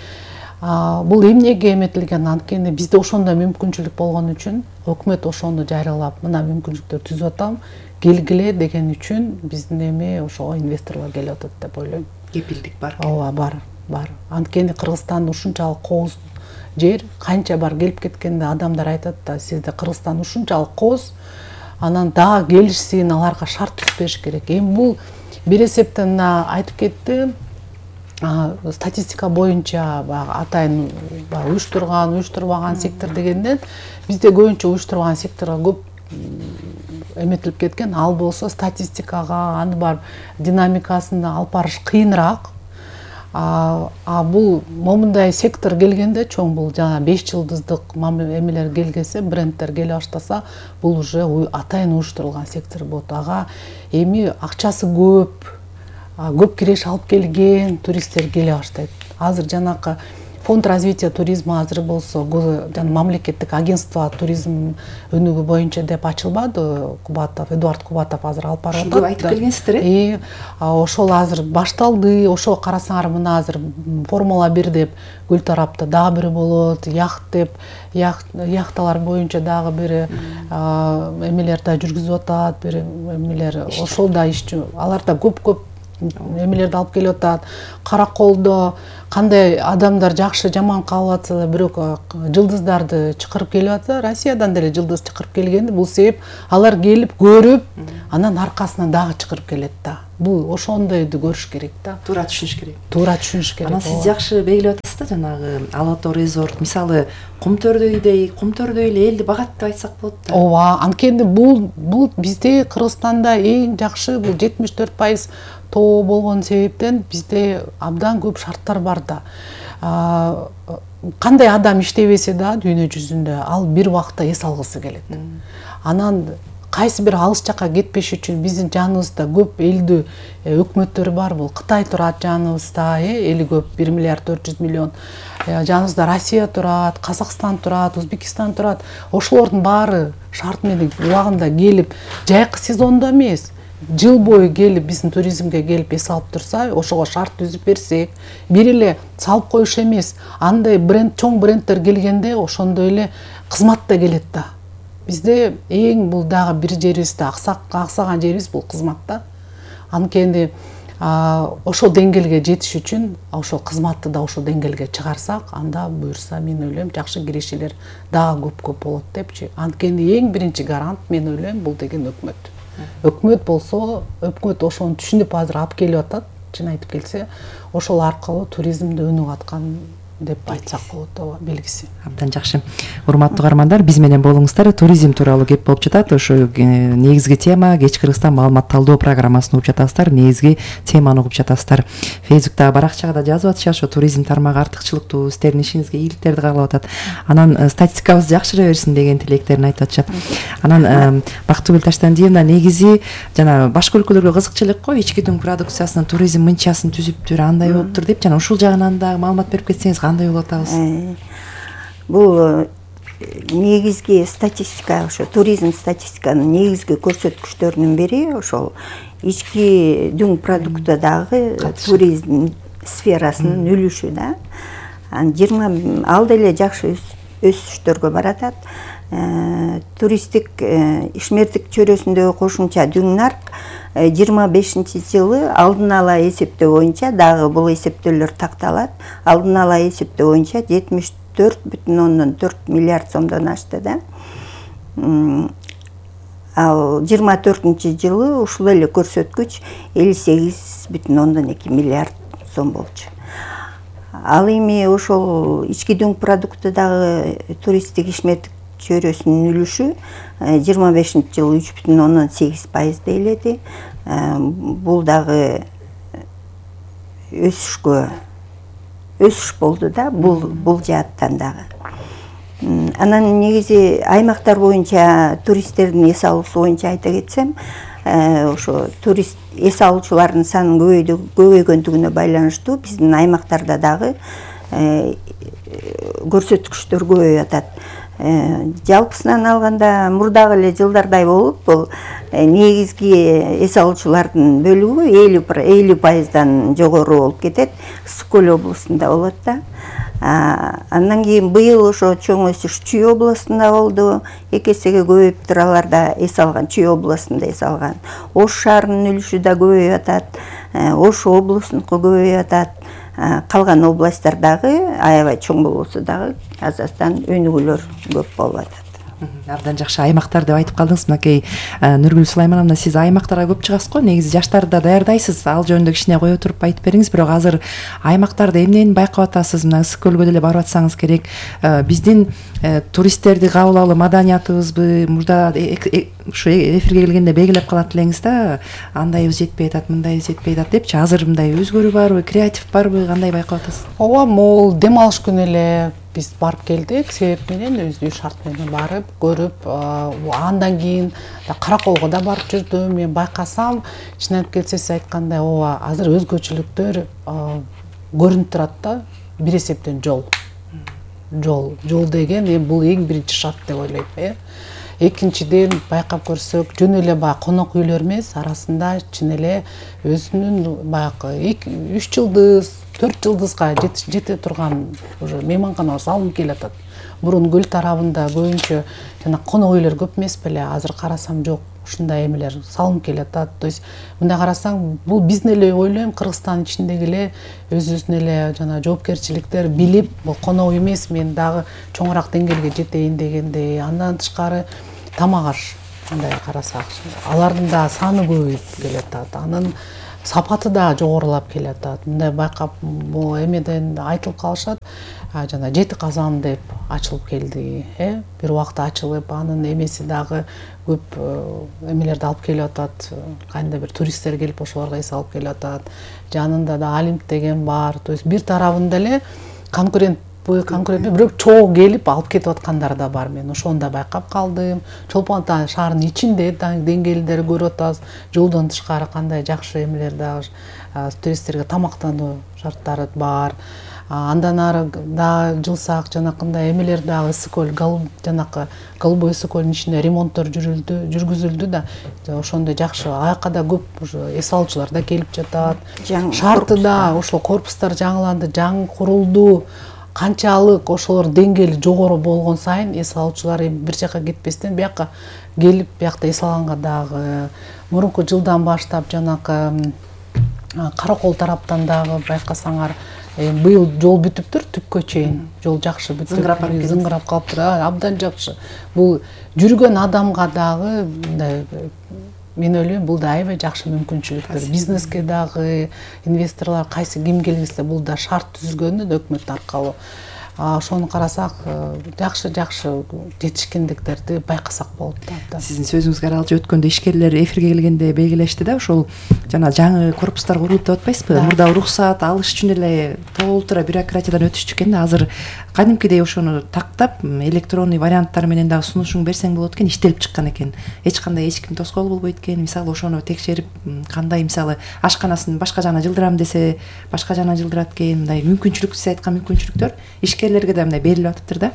Speaker 1: бул эмнеге эметилген? Анткени бизде ошондой мүмкүнчүлүк болгон үчүн өкмөт ошону жарыялап, мына мүмкүнчүлүктөр түзүп атам, келгиле деген үчүн биздин эми ошого инвесторлор келип атат деп ойлойм.
Speaker 7: Кепилдик бар.
Speaker 1: Ооба, бар, бар. Анткени Кыргызстан ушунчалык кооз жер, канча бар келип кеткенде адамдар айтат да, сизде Кыргызстан ушунчалык кооз, анан дагы келишсин, аларга шарт түзүп бериш керек. Эми бул бир эсептен айтып кетти, статистика боюнча баягы атайын уюштурган, уюштурбаган сектор дегенден бизде көбүнчө уюштурган секторго көп эметилип кеткен. Ал болсо статистикага, аны бар динамикасын алып барыш кыйыныраак. А бул момундай сектор келгенде чоң бул жана беш жылдыздык эмелер келгесе, брендтер келе баштаса, бул уже атайын уюштурулган сектор болот. Ага эми акчасы көп, көп киреш алып келген туристтер келе баштайт. Азыр жанакы фонд развития туризма азыр болсо жана мамлекеттик агентство туризм өнүгүү боюнча деп ачылбады. Кубатов Эдуард Кубатов азыр алып барып атат.
Speaker 7: Ушуну айтып келгенсиздер э?
Speaker 1: Ошол азыр башталды. Ошо карасаңар мына азыр Формула бир деп Гүл тарапта дагы бири болот, яхт деп яхталар боюнча дагы бири эмелер да жүргүзүп атат, бири эмелер ошол да ишчи. Алар да көп-көп эмелерди алып келип атат. Караколдо кандай адамдар жакшы жаман калып атса да, бирок жылдыздарды чакырып келип атса, Россиядан деле жылдыз чакырып келгенди. Бул себеп алар келип көрүп, анан аркасынан дагы чакырып келет да. Бул ошондойду көрүш керек да.
Speaker 7: Туура түшүнүш керек.
Speaker 1: Туура түшүнүш керек.
Speaker 7: Анан сиз жакшы белгилеп атасыз да, жанагы Ала Тоо резорт, мисалы Кумтөрдөйдей, Кумтөрдөй эле элди багат деп айтсак болот да.
Speaker 1: Ооба, анткени бул бул бизде Кыргызстанда эң жакшы бул жетимиш төрт пайыз тоо болгон себептен бизде абдан көп шарттар бар да. Кандай адам иштебесе да дүйнө жүзүндө ал бир убакта эс алгысы келет. Анан кайсы бир алыс жакка кетпеш үчүн биздин жаныбызда көп элдүү өкмөттөр бар. Бул Кытай турат жаныбызда, эли көп, бир миллиард төрт жүз миллион. Жаныбызда Россия турат, Казакстан турат, Өзбекстан турат. Ошолордун баары шарт менен убагында келип, жайкы сезондо эмес, жыл бою келип биздин туризмге келип эс алып турса, ошого шарт түзүп берсек, бир эле салып коюш эмес, андай бренд, чоң брендтер келгенде ошондой эле кызмат да келет да. Бизде эң бул дагы бир жерибизде аксаган жерибиз бул кызмат да. Анткени ошол деңгээлге жетиш үчүн ошол кызматты да ошол деңгээлге чыгарсак, анда буюрса мен ойлойм жакшы кирешелер дагы көп-көп болот депчи. Анткени эң биринчи гарант мен ойлойм бул деген өкмөт. Өкмөт болсо, өкмөт ошону түшүнүп азыр алып келип атат, чын айтып келсе, ошол аркылуу туризмди өнүгүп аткан деп айтсак болот, ооба, белгиси.
Speaker 7: Абдан жакшы. Урматтуу угармандар, биз менен болуңуздар. Туризм тууралуу кеп болуп жатат. Ошо негизги тема Кеч Кыргызстан маалымат талдоо программасын угуп жатасыздар. Негизги теманы угуп жатасыздар. Фейсбуктагы баракчага да жазып атышат, ошо туризм тармагы артыкчылыктуу, сиздердин ишиңизге ийгиликтерди каалап атат. Анан статистикабыз жакшыра берсин деген тилектерин айтып атышат. Анан Бактыгүл Таштандиевна, негизи жана башка өлкөлөргө кызыкчылык го, ички дүң продукциясынын туризм мынчасын түзүптүр, андай болуптур деп, жана ушул жагынан дагы маалымат берип кетсеңиз кандай болот атабыз?
Speaker 8: Бул негизги статистика, ошо туризм статистиканын негизги көрсөткүчтөрүнүн бири ошол ички дүң продуктадагы туризм сферасынын үлүшү да. жыйырма ал деле жакшы өсүштөргө баратат. Туристтик ишмердик чөйрөсүндөгү кошумча дүң нарк жыйырма бешинчи жылы алдын ала эсептөө боюнча, дагы бул эсептөөлөр такталат, алдын ала эсептөө боюнча жетимиш төрт бүтүн ондон төрт миллиард сомдон ашты да. Ал жыйырма төртүнчү жылы ушул эле көрсөткүч элүү сегиз бүтүн ондон эки миллиард сом болчу. Ал эми ошол ички дүң продуктудагы туристтик ишмердик чөйрөсүнүн үлүшү жыйырма бешинчи жылы үч бүтүн ондон сегиз пайыз дейледи. Бул дагы өсүшкө өсүш болду да, бул бул жааттан дагы. Анан негизи аймактар боюнча туристтердин эс алуусу боюнча айта кетсем, ошо турист эс алуучулардын санынын көбөйгөндүгүнө байланыштуу биздин аймактарда дагы көрсөткүчтөр көбөйүп атат. Жалпысынан алганда мурдагы эле жылдардай болуп, бул негизги эс алуучулардын бөлүгү элүү пайыздан жогору болуп кетет, Ысык көл областында болот да. Андан кийин быйыл ошо чоң өсүш Чүй областында болду, эки эсеге көбөйүптүр, аларда эс алган, Чүй областында эс алган. Ош шаарынын үлүшү да көбөйүп атат, Ош облусунуку көбөйүп атат. Калган областтардагы аябай чоң болбосо дагы азастан өнүгүүлөр көп болуп атат.
Speaker 7: Абдан жакшы аймактар деп айтып калдыңыз. Мынакей Нургүл Сулаймановна, сиз аймактарга көп чыгасыз го, негизи жаштарды да даярдайсыз. Ал жөнүндө кичине кое туруп айтып бериңиз. Бирок азыр аймактарда эмнени байкап атасыз? Мына Ысык көлгө деле барып атсаңыз керек. Биздин туристтерди кабыл алуу маданиятыбызбы, мурда ушу эфирге келгенде белгилеп калат элеңиз да, андайыбыз жетпей атат, мындайыбыз жетпей атат депчи. Азыр мындай өзгөрүү барбы, креатив барбы, кандай байкап атасыз?
Speaker 1: Ооба, могул дем алыш күнү эле биз барып келдик, себеп менен өздүү шарт менен барып көрүп, андан кийин Караколго да барып жүрдүм. Мен байкасам, чын айтып келсе, сиз айткандай, ооба, азыр өзгөчөлүктөр көрүнүп турат да. бир эсептен жол жол жол деген эми бул эң биринчи шарт деп ойлойм. э Экинчиден байкап көрсөк, жөн эле баягы конок үйлөр эмес, арасында чын эле өзүнүн баягы үч жылдыз, төрт жылдызга жете турган уже мейманканалар салынып келатат. Мурун көл тарабында көбүнчө жана конок үйлөр көп эмес беле, азыр карасам жок, ушундай эмелер салынып келатат. То есть мындай карасаң, бул биздин эле ойлойм, Кыргызстандын ичиндеги эле өзүбүздүн эле жана жоопкерчиликтер билип, бул конок үй эмес, мен дагы чоңураак деңгээлге жетейин дегендей. Андан тышкары тамак аш, мындай карасак, алардын да саны көбөйүп келатат. Анын сапаты да жогорулап келатат. Мындай байкап, бул эмеден айтылып калышат, жана жети казан деп ачылып келди, э бир убакта ачылып, анын эмеси дагы көп эмелерди алып келип атат, кандай бир туристтер келип ошолорго эс алып келип атат. Жанында да Олимп деген бар. То есть бир тарабында эле конкурент конкурент бирок чогуу келип алып кетип аткандар да бар. Мен ошону да байкап калдым. Чолпон Ата шаарынын ичинде деңгээлдери көрүп атабыз. Жолдон тышкары кандай жакшы эмелер дагы туристтерге тамактануу шарттары бар. Андан ары дагы жылсак, жанакындай эмелер дагы ысык көл, жанакы Голубой ысык көлдүн ичинде ремонттор жүрүлдү, жүргүзүлдү да. Ошондой жакшы, аяка да көп эс алуучулар да келип жатат. Шарты да, ошол корпустар жаңыланды, жаңы курулду. Канчалык ошолор деңгээли жогору болгон сайын эс алуучулар бир жака кетпестен бияка келип, биякта эс алганга дагы мурунку жылдан баштап жанакы Каракол тараптан дагы байкасаңар, быйыл жол бүтүптүр, түпкө чейин жол жакшы бүтүп, зыңгырап калыптыр, абдан жакшы. Бул жүргөн адамга дагы мен ойлойм, бул да аябай жакшы мүмкүнчүлүктөр. Бизнеске дагы инвесторлор кайсы ким келсе, бул да шарт түзүлгөнү өкмөт аркылуу. Ошону карасак, жакшы жакшы жетишкендиктерди байкасак болот да.
Speaker 7: Сиздин сөзүңүзгө аралашып өткөндө ишкерлер эфирге келгенде белгилешти да, ошол жана жаңы корпустар курулуп деп атпайсызбы? Мурда уруксат алыш үчүн эле толтура бюрократиядан өтүшчү экен да, азыр кадимкидей ошону тактап, электронный варианттар менен дагы сунушуң берсең болот экен, иштелип чыккан экен. Эч кандай эч ким тоскоол болбойт экен. Мисалы ошону текшерип, кандай мисалы ашканасын башка жагына жылдырам десе, башка жагына жылдырат экен. Мындай мүмкүнчүлүк, сиз айткан мүмкүнчүлүктөр ишкерлерге да мындай берилип атыптыр да.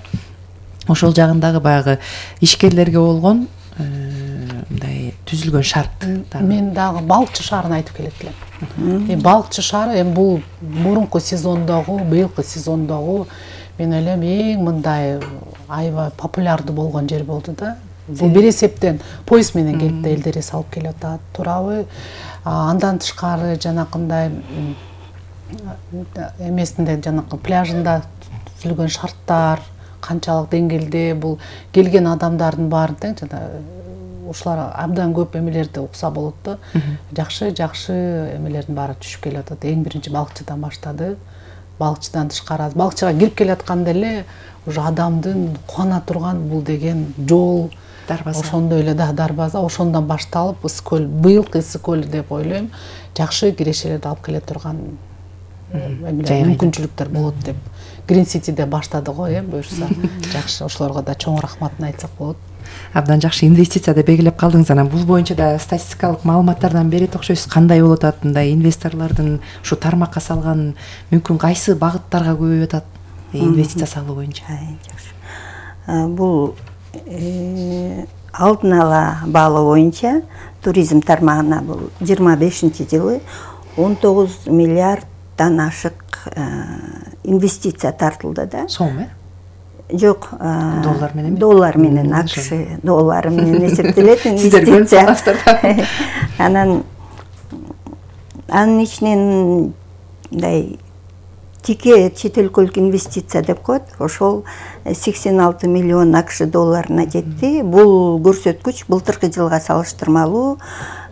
Speaker 7: Ошол жагындагы баягы ишкерлерге болгон мындай түзүлгөн шарт.
Speaker 1: Мен дагы балыкчы шаарын айтып келет элем. Эми балыкчы шаары эми бул мурунку сезондогу, быйылкы сезондогу мен ойлойм эң мындай аябай популярдуу болгон жер болду да. Бул бир эсептен поезд менен келип да элдер эс алып келип атат, туурабы? Андан тышкары жанакындай эмесинде, жанакы пляжында түзүлгөн шарттар канчалык деңгээлде, бул келген адамдардын баарын тең жана ушулар абдан көп эмелерди укса болот да. Жакшы жакшы эмелердин баары түшүп келип атат. Эң биринчи балыкчыдан баштады. Балыкчыдан тышкары, балыкчыга кирип келатканда эле уже адамдын кубана турган бул деген жол, дарбаза. Ошондой эле да дарбаза, ошондон башталып ысык көл, быйылкы ысык көл деп ойлойм, жакшы кирешелерди алып келе турган мүмкүнчүлүктөр болот деп. Green City'де баштады го, э, буюрса. Жакшы, ошолорго да чоң рахматын айтсак болот.
Speaker 7: Абдан жакшы инвестиция деп белгилеп калдыңыз. Анан бул боюнча да статистикалык маалыматтардан берет окшойсуз. Кандай болуп атат мындай инвесторлордун ушу тармакка салган мүмкүн кайсы багыттарга көбөйүп атат инвестиция салуу боюнча?
Speaker 8: Жакшы. Бул алдын ала баалоо боюнча туризм тармагына бул жыйырма бешинчи жылы он тогуз миллиарддан ашык инвестиция тартылды да.
Speaker 7: Сом, э?
Speaker 8: Жок,
Speaker 7: доллар менен.
Speaker 8: Доллар менен, АКШ доллары менен эсептелет инвестиция. Анан анын ичинен мындай тике чет өлкөлүк инвестиция деп коет. Ошол сексен алты миллион АКШ долларына жетти. Бул көрсөткүч былтыркы жылга салыштырмалуу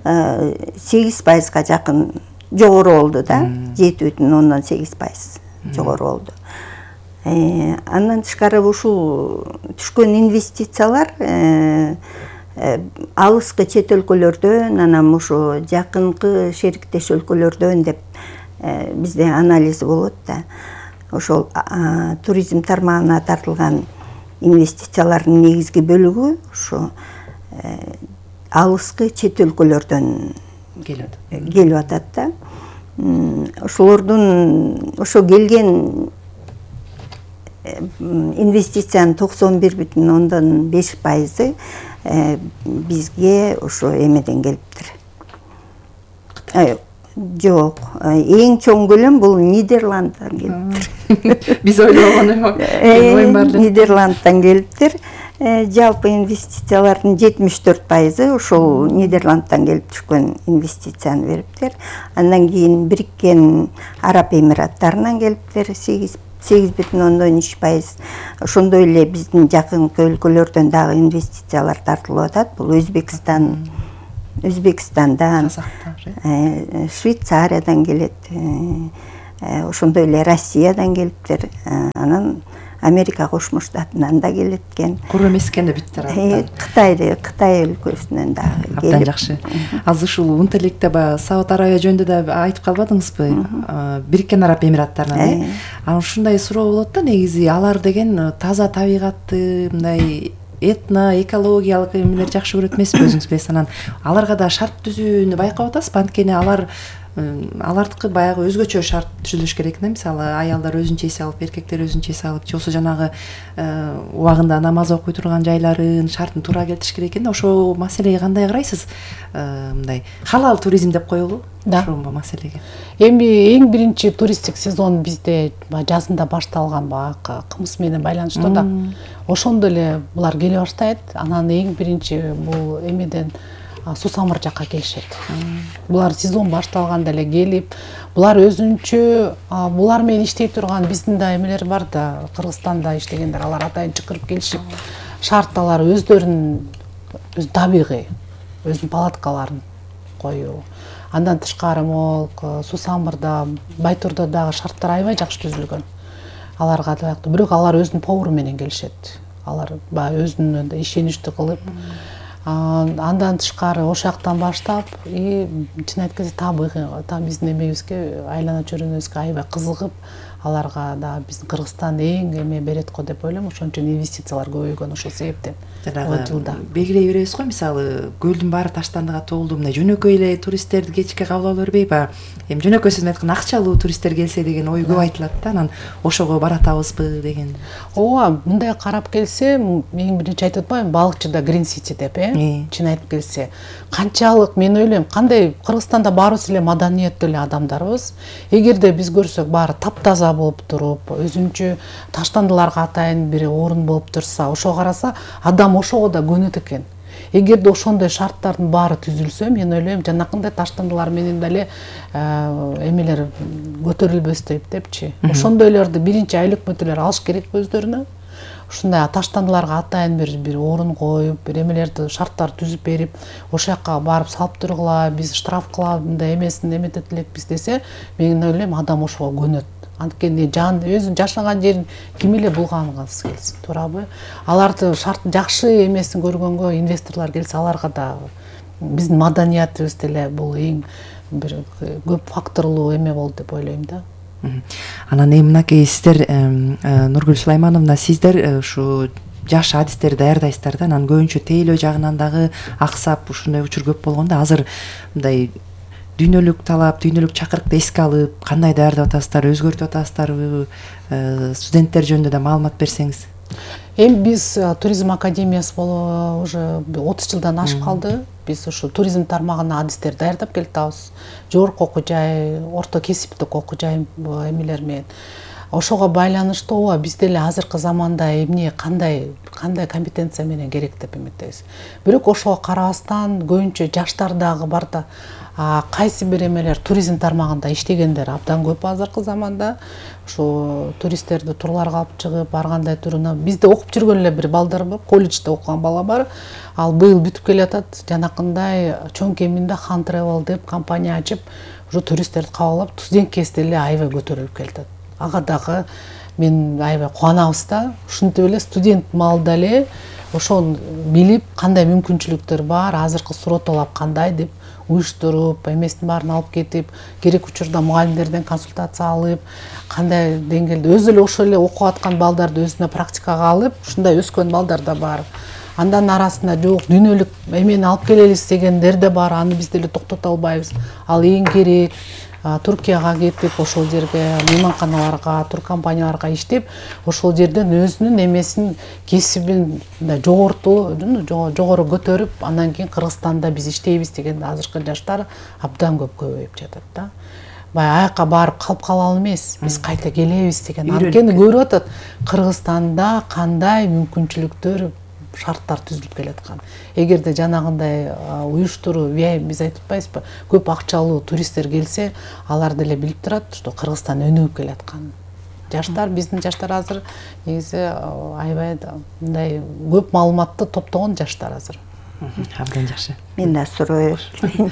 Speaker 8: сегиз пайызга жакын жогору болду да. жети бүтүн ондон сегиз пайыз жогору болду. Андан тышкары ушул түшкөн инвестициялар алыскы чет өлкөлөрдөн, анан ушу жакынкы шериктеш өлкөлөрдөн деп бизде анализ болот да. Ошол туризм тармагына тартылган инвестициялардын негизги бөлүгү ушу алыскы чет өлкөлөрдөн келип атат да. Ошолордун ошо келген инвестициянын токсон бир бүтүн ондон беш пайызы бизге ошо эмеден келиптир. Жок, эң чоң көлөм бул Нидерланддан келиптир.
Speaker 7: Биз ойлогон эме
Speaker 8: Нидерланддан келиптир. Жалпы инвестициялардын жетимиш төрт пайызы ошол Нидерланддан келип түшкөн инвестицияны бериптир. Андан кийин Бириккен Араб Эмираттарынан келиптир, сегиз бүтүн ондон үч пайыз. Ошондой эле биздин жакынкы өлкөлөрдөн дагы инвестициялар тартылып атат. Бул Өзбекстан, Өзбекстандан, Швейцариядан келет, ошондой эле Россиядан келиптир. Анан Америка Кошмо Штатынан да келет экен.
Speaker 7: Куру эмес экен да бүттөр абдан.
Speaker 8: Кытайды, Кытай өлкөсүнөн дагы келип.
Speaker 7: Абдан жакшы. Азыр ушул унт электе баягы Сауд Арабия жөнүндө да айтып калбадыңызбы? Бириккен Араб Эмираттарынан, э? Анан ушундай суроо болот да, негизи алар деген таза табигатты, мындай этно, экологиялык эмелер жакшы көрөт эмеспи, өзүңүз билесиз. Анан аларга да шарт түзүүнү байкап атасызбы? Анткени алар алардыкы баягы өзгөчө шарт түзүлүш керек да, мисалы аялдар өзүнчө эс алып, эркектер өзүнчө эс алып, же болбосо жанагы убагында намаз окуй турган жайларын шартын туура келтириш керек экен да. Ошол маселеге кандай карайсыз? Мындай халал туризм деп коелу ошол маселеге.
Speaker 1: Эми эң биринчи туристтик сезон бизде жазында башталган баягы кымыз менен байланыштуу да. Ошондо эле булар келе баштайт. Анан эң биринчи бул эмеден Сусамыр жакка келишет. Булар сезон башталганда эле келип, булар өзүнчө булар менен иштей турган биздин да эмелер бар да, Кыргызстанда иштегендер, алар атайын чакырып келишип, шартталар өздөрүнүн өз табигый, өзүнүн палаткаларын коюу. Андан тышкары могул Сусамырда, Байтурда дагы шарттар аябай жакшы түзүлгөн. Аларга да, бирок алар өзүнүн повару менен келишет. Алар баягы өзүнүн ишеничтүү кылып, андан тышкары ошол жактан баштап, и чын айтканда табигый, там биздин эмебизге, айлана чөйрөбүзгө аябай кызыгып, аларга да биздин Кыргызстан эң эме берет го деп ойлойм. Ошон үчүн инвестициялар көбөйгөн ошол себептен.
Speaker 7: Жылда белгилей беребиз го, мисалы көлдүн баары таштандыга толду, мындай жөнөкөй эле туристтерди кечке кабыл ала бербей, баягы эми жөнөкөй сөз менен айтканда акчалуу туристтер келсе деген ой көп айтылат да, анан ошого баратабызбы деген.
Speaker 1: Ооба, мындай карап келсе, эң биринчи айтып атпаймынбы, балыкчыда Green City деп, э? Чын айтып келсе, канчалык мен ойлойм, кандай Кыргызстанда баарыбыз эле маданияттуу эле адамдарбыз. Эгерде биз көрсөк баары таптаза болуп туруп, өзүнчө таштандыларга атайын бир орун болуп турса, ошого караса, адам ошого да көнөт экен. Эгерде ошондой шарттардын баары түзүлсө, мен ойлойм, жанакындай таштандылар менен деле эмелер көтөрүлбөстөйт депчи. Ошондойлорду биринчи айыл өкмөттөр алыш керек өздөрүнө. Ушундай таштандыларга атайын бир бир орун коюп, бир эмелерди шарттар түзүп берип, ошол жакка барып салып тургула, биз штраф кылабыз, мындай эмесин эметет элекпиз десе, мен ойлойм, адам ошого көнөт. Анткени жан өзүнүн жашаган жерин ким эле булгангысы келсин, туурабы? Аларды шарт жакшы эмесин көргөнгө инвесторлор келсе, аларга да биздин маданиятыбыз деле бул эң бир көп факторлуу эме болду деп ойлойм да.
Speaker 7: Анан эми мынакей сиздер, Нургүл Сулаймановна, сиздер ушу жаш адистерди даярдайсыздар да, анан көбүнчө тейлөө жагынан дагы аксап ушундай учур көп болгондо, азыр мындай дүйнөлүк талап, дүйнөлүк чакырыкты эске алып, кандай даярдап атасыздар, өзгөртүп атасыздарбы, студенттер жөнүндө да маалымат берсеңиз.
Speaker 1: Эми биз туризм академиясы болуп уже отуз жылдан ашып калды. Биз ушу туризм тармагына адистер даярдап келатабыз. Жогорку окуу жай, орто кесиптик окуу жай эмелер менен. Ошого байланыштуу ооба биз деле азыркы заманда эмне кандай кандай компетенция менен керек деп эметебиз. Бирок ошого карабастан көбүнчө жаштар дагы бар да, кайсы бир эмелер туризм тармагында иштегендер абдан көп азыркы заманда. Ушу туристтерди турларга алып чыгып, баргандай туруна бизде окуп жүргөн эле бир балдар бар, колледжде окуган бала бар. Ал быйыл бүтүп келатат, жанакындай чоң кеминде Хан Travel деп компания ачып, ушу туристтерди кабыл алып, студент кезде эле аябай көтөрүлүп келатат. Ага дагы мен аябай кубанабыз да. Ушинтип эле студент маалда эле ошону билип, кандай мүмкүнчүлүктөр бар, азыркы суроо талап кандай деп уюштуруп, эмесин баарын алып кетип, керек учурда мугалимдерден консультация алып, кандай деңгээлде өзү эле ошол эле окуп аткан балдарды өзүнө практикага алып, ушундай өскөн балдар да бар. Андан арасында жок, дүйнөлүк эмени алып келелиз дегендер да бар, аны биз деле токтото албайбыз. Ал эң керек. Туркияга кетип ошол жерге мейманканаларга, туркомпанияларга иштеп, ошол жерден өзүнүн эмесин, кесибин жогорту, жогору көтөрүп, анан кийин Кыргызстанда биз иштейбиз деген азыркы жаштар абдан көп көбөйүп жатат да. Баягы аяка барып калып калалы эмес, биз кайта келебиз деген. Анткени көрүп атат Кыргызстанда кандай мүмкүнчүлүктөр, шарттар түзүлүп келаткан. Эгерде жанагындай уюштуруу, биз айтып атпайбызбы, көп акчалуу туристтер келсе, алар деле билип турат, что Кыргызстан өнүгүп келаткан. Жаштар, биздин жаштар азыр негизи аябай мындай көп маалыматты топтогон жаштар азыр.
Speaker 7: Абдан жакшы.
Speaker 8: Мен да суроо берейин.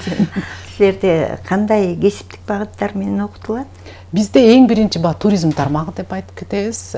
Speaker 8: Силерде кандай кесиптик багыттар менен окутулат?
Speaker 1: Бизде эң биринчи ба туризм тармагы деп айтып кетебиз.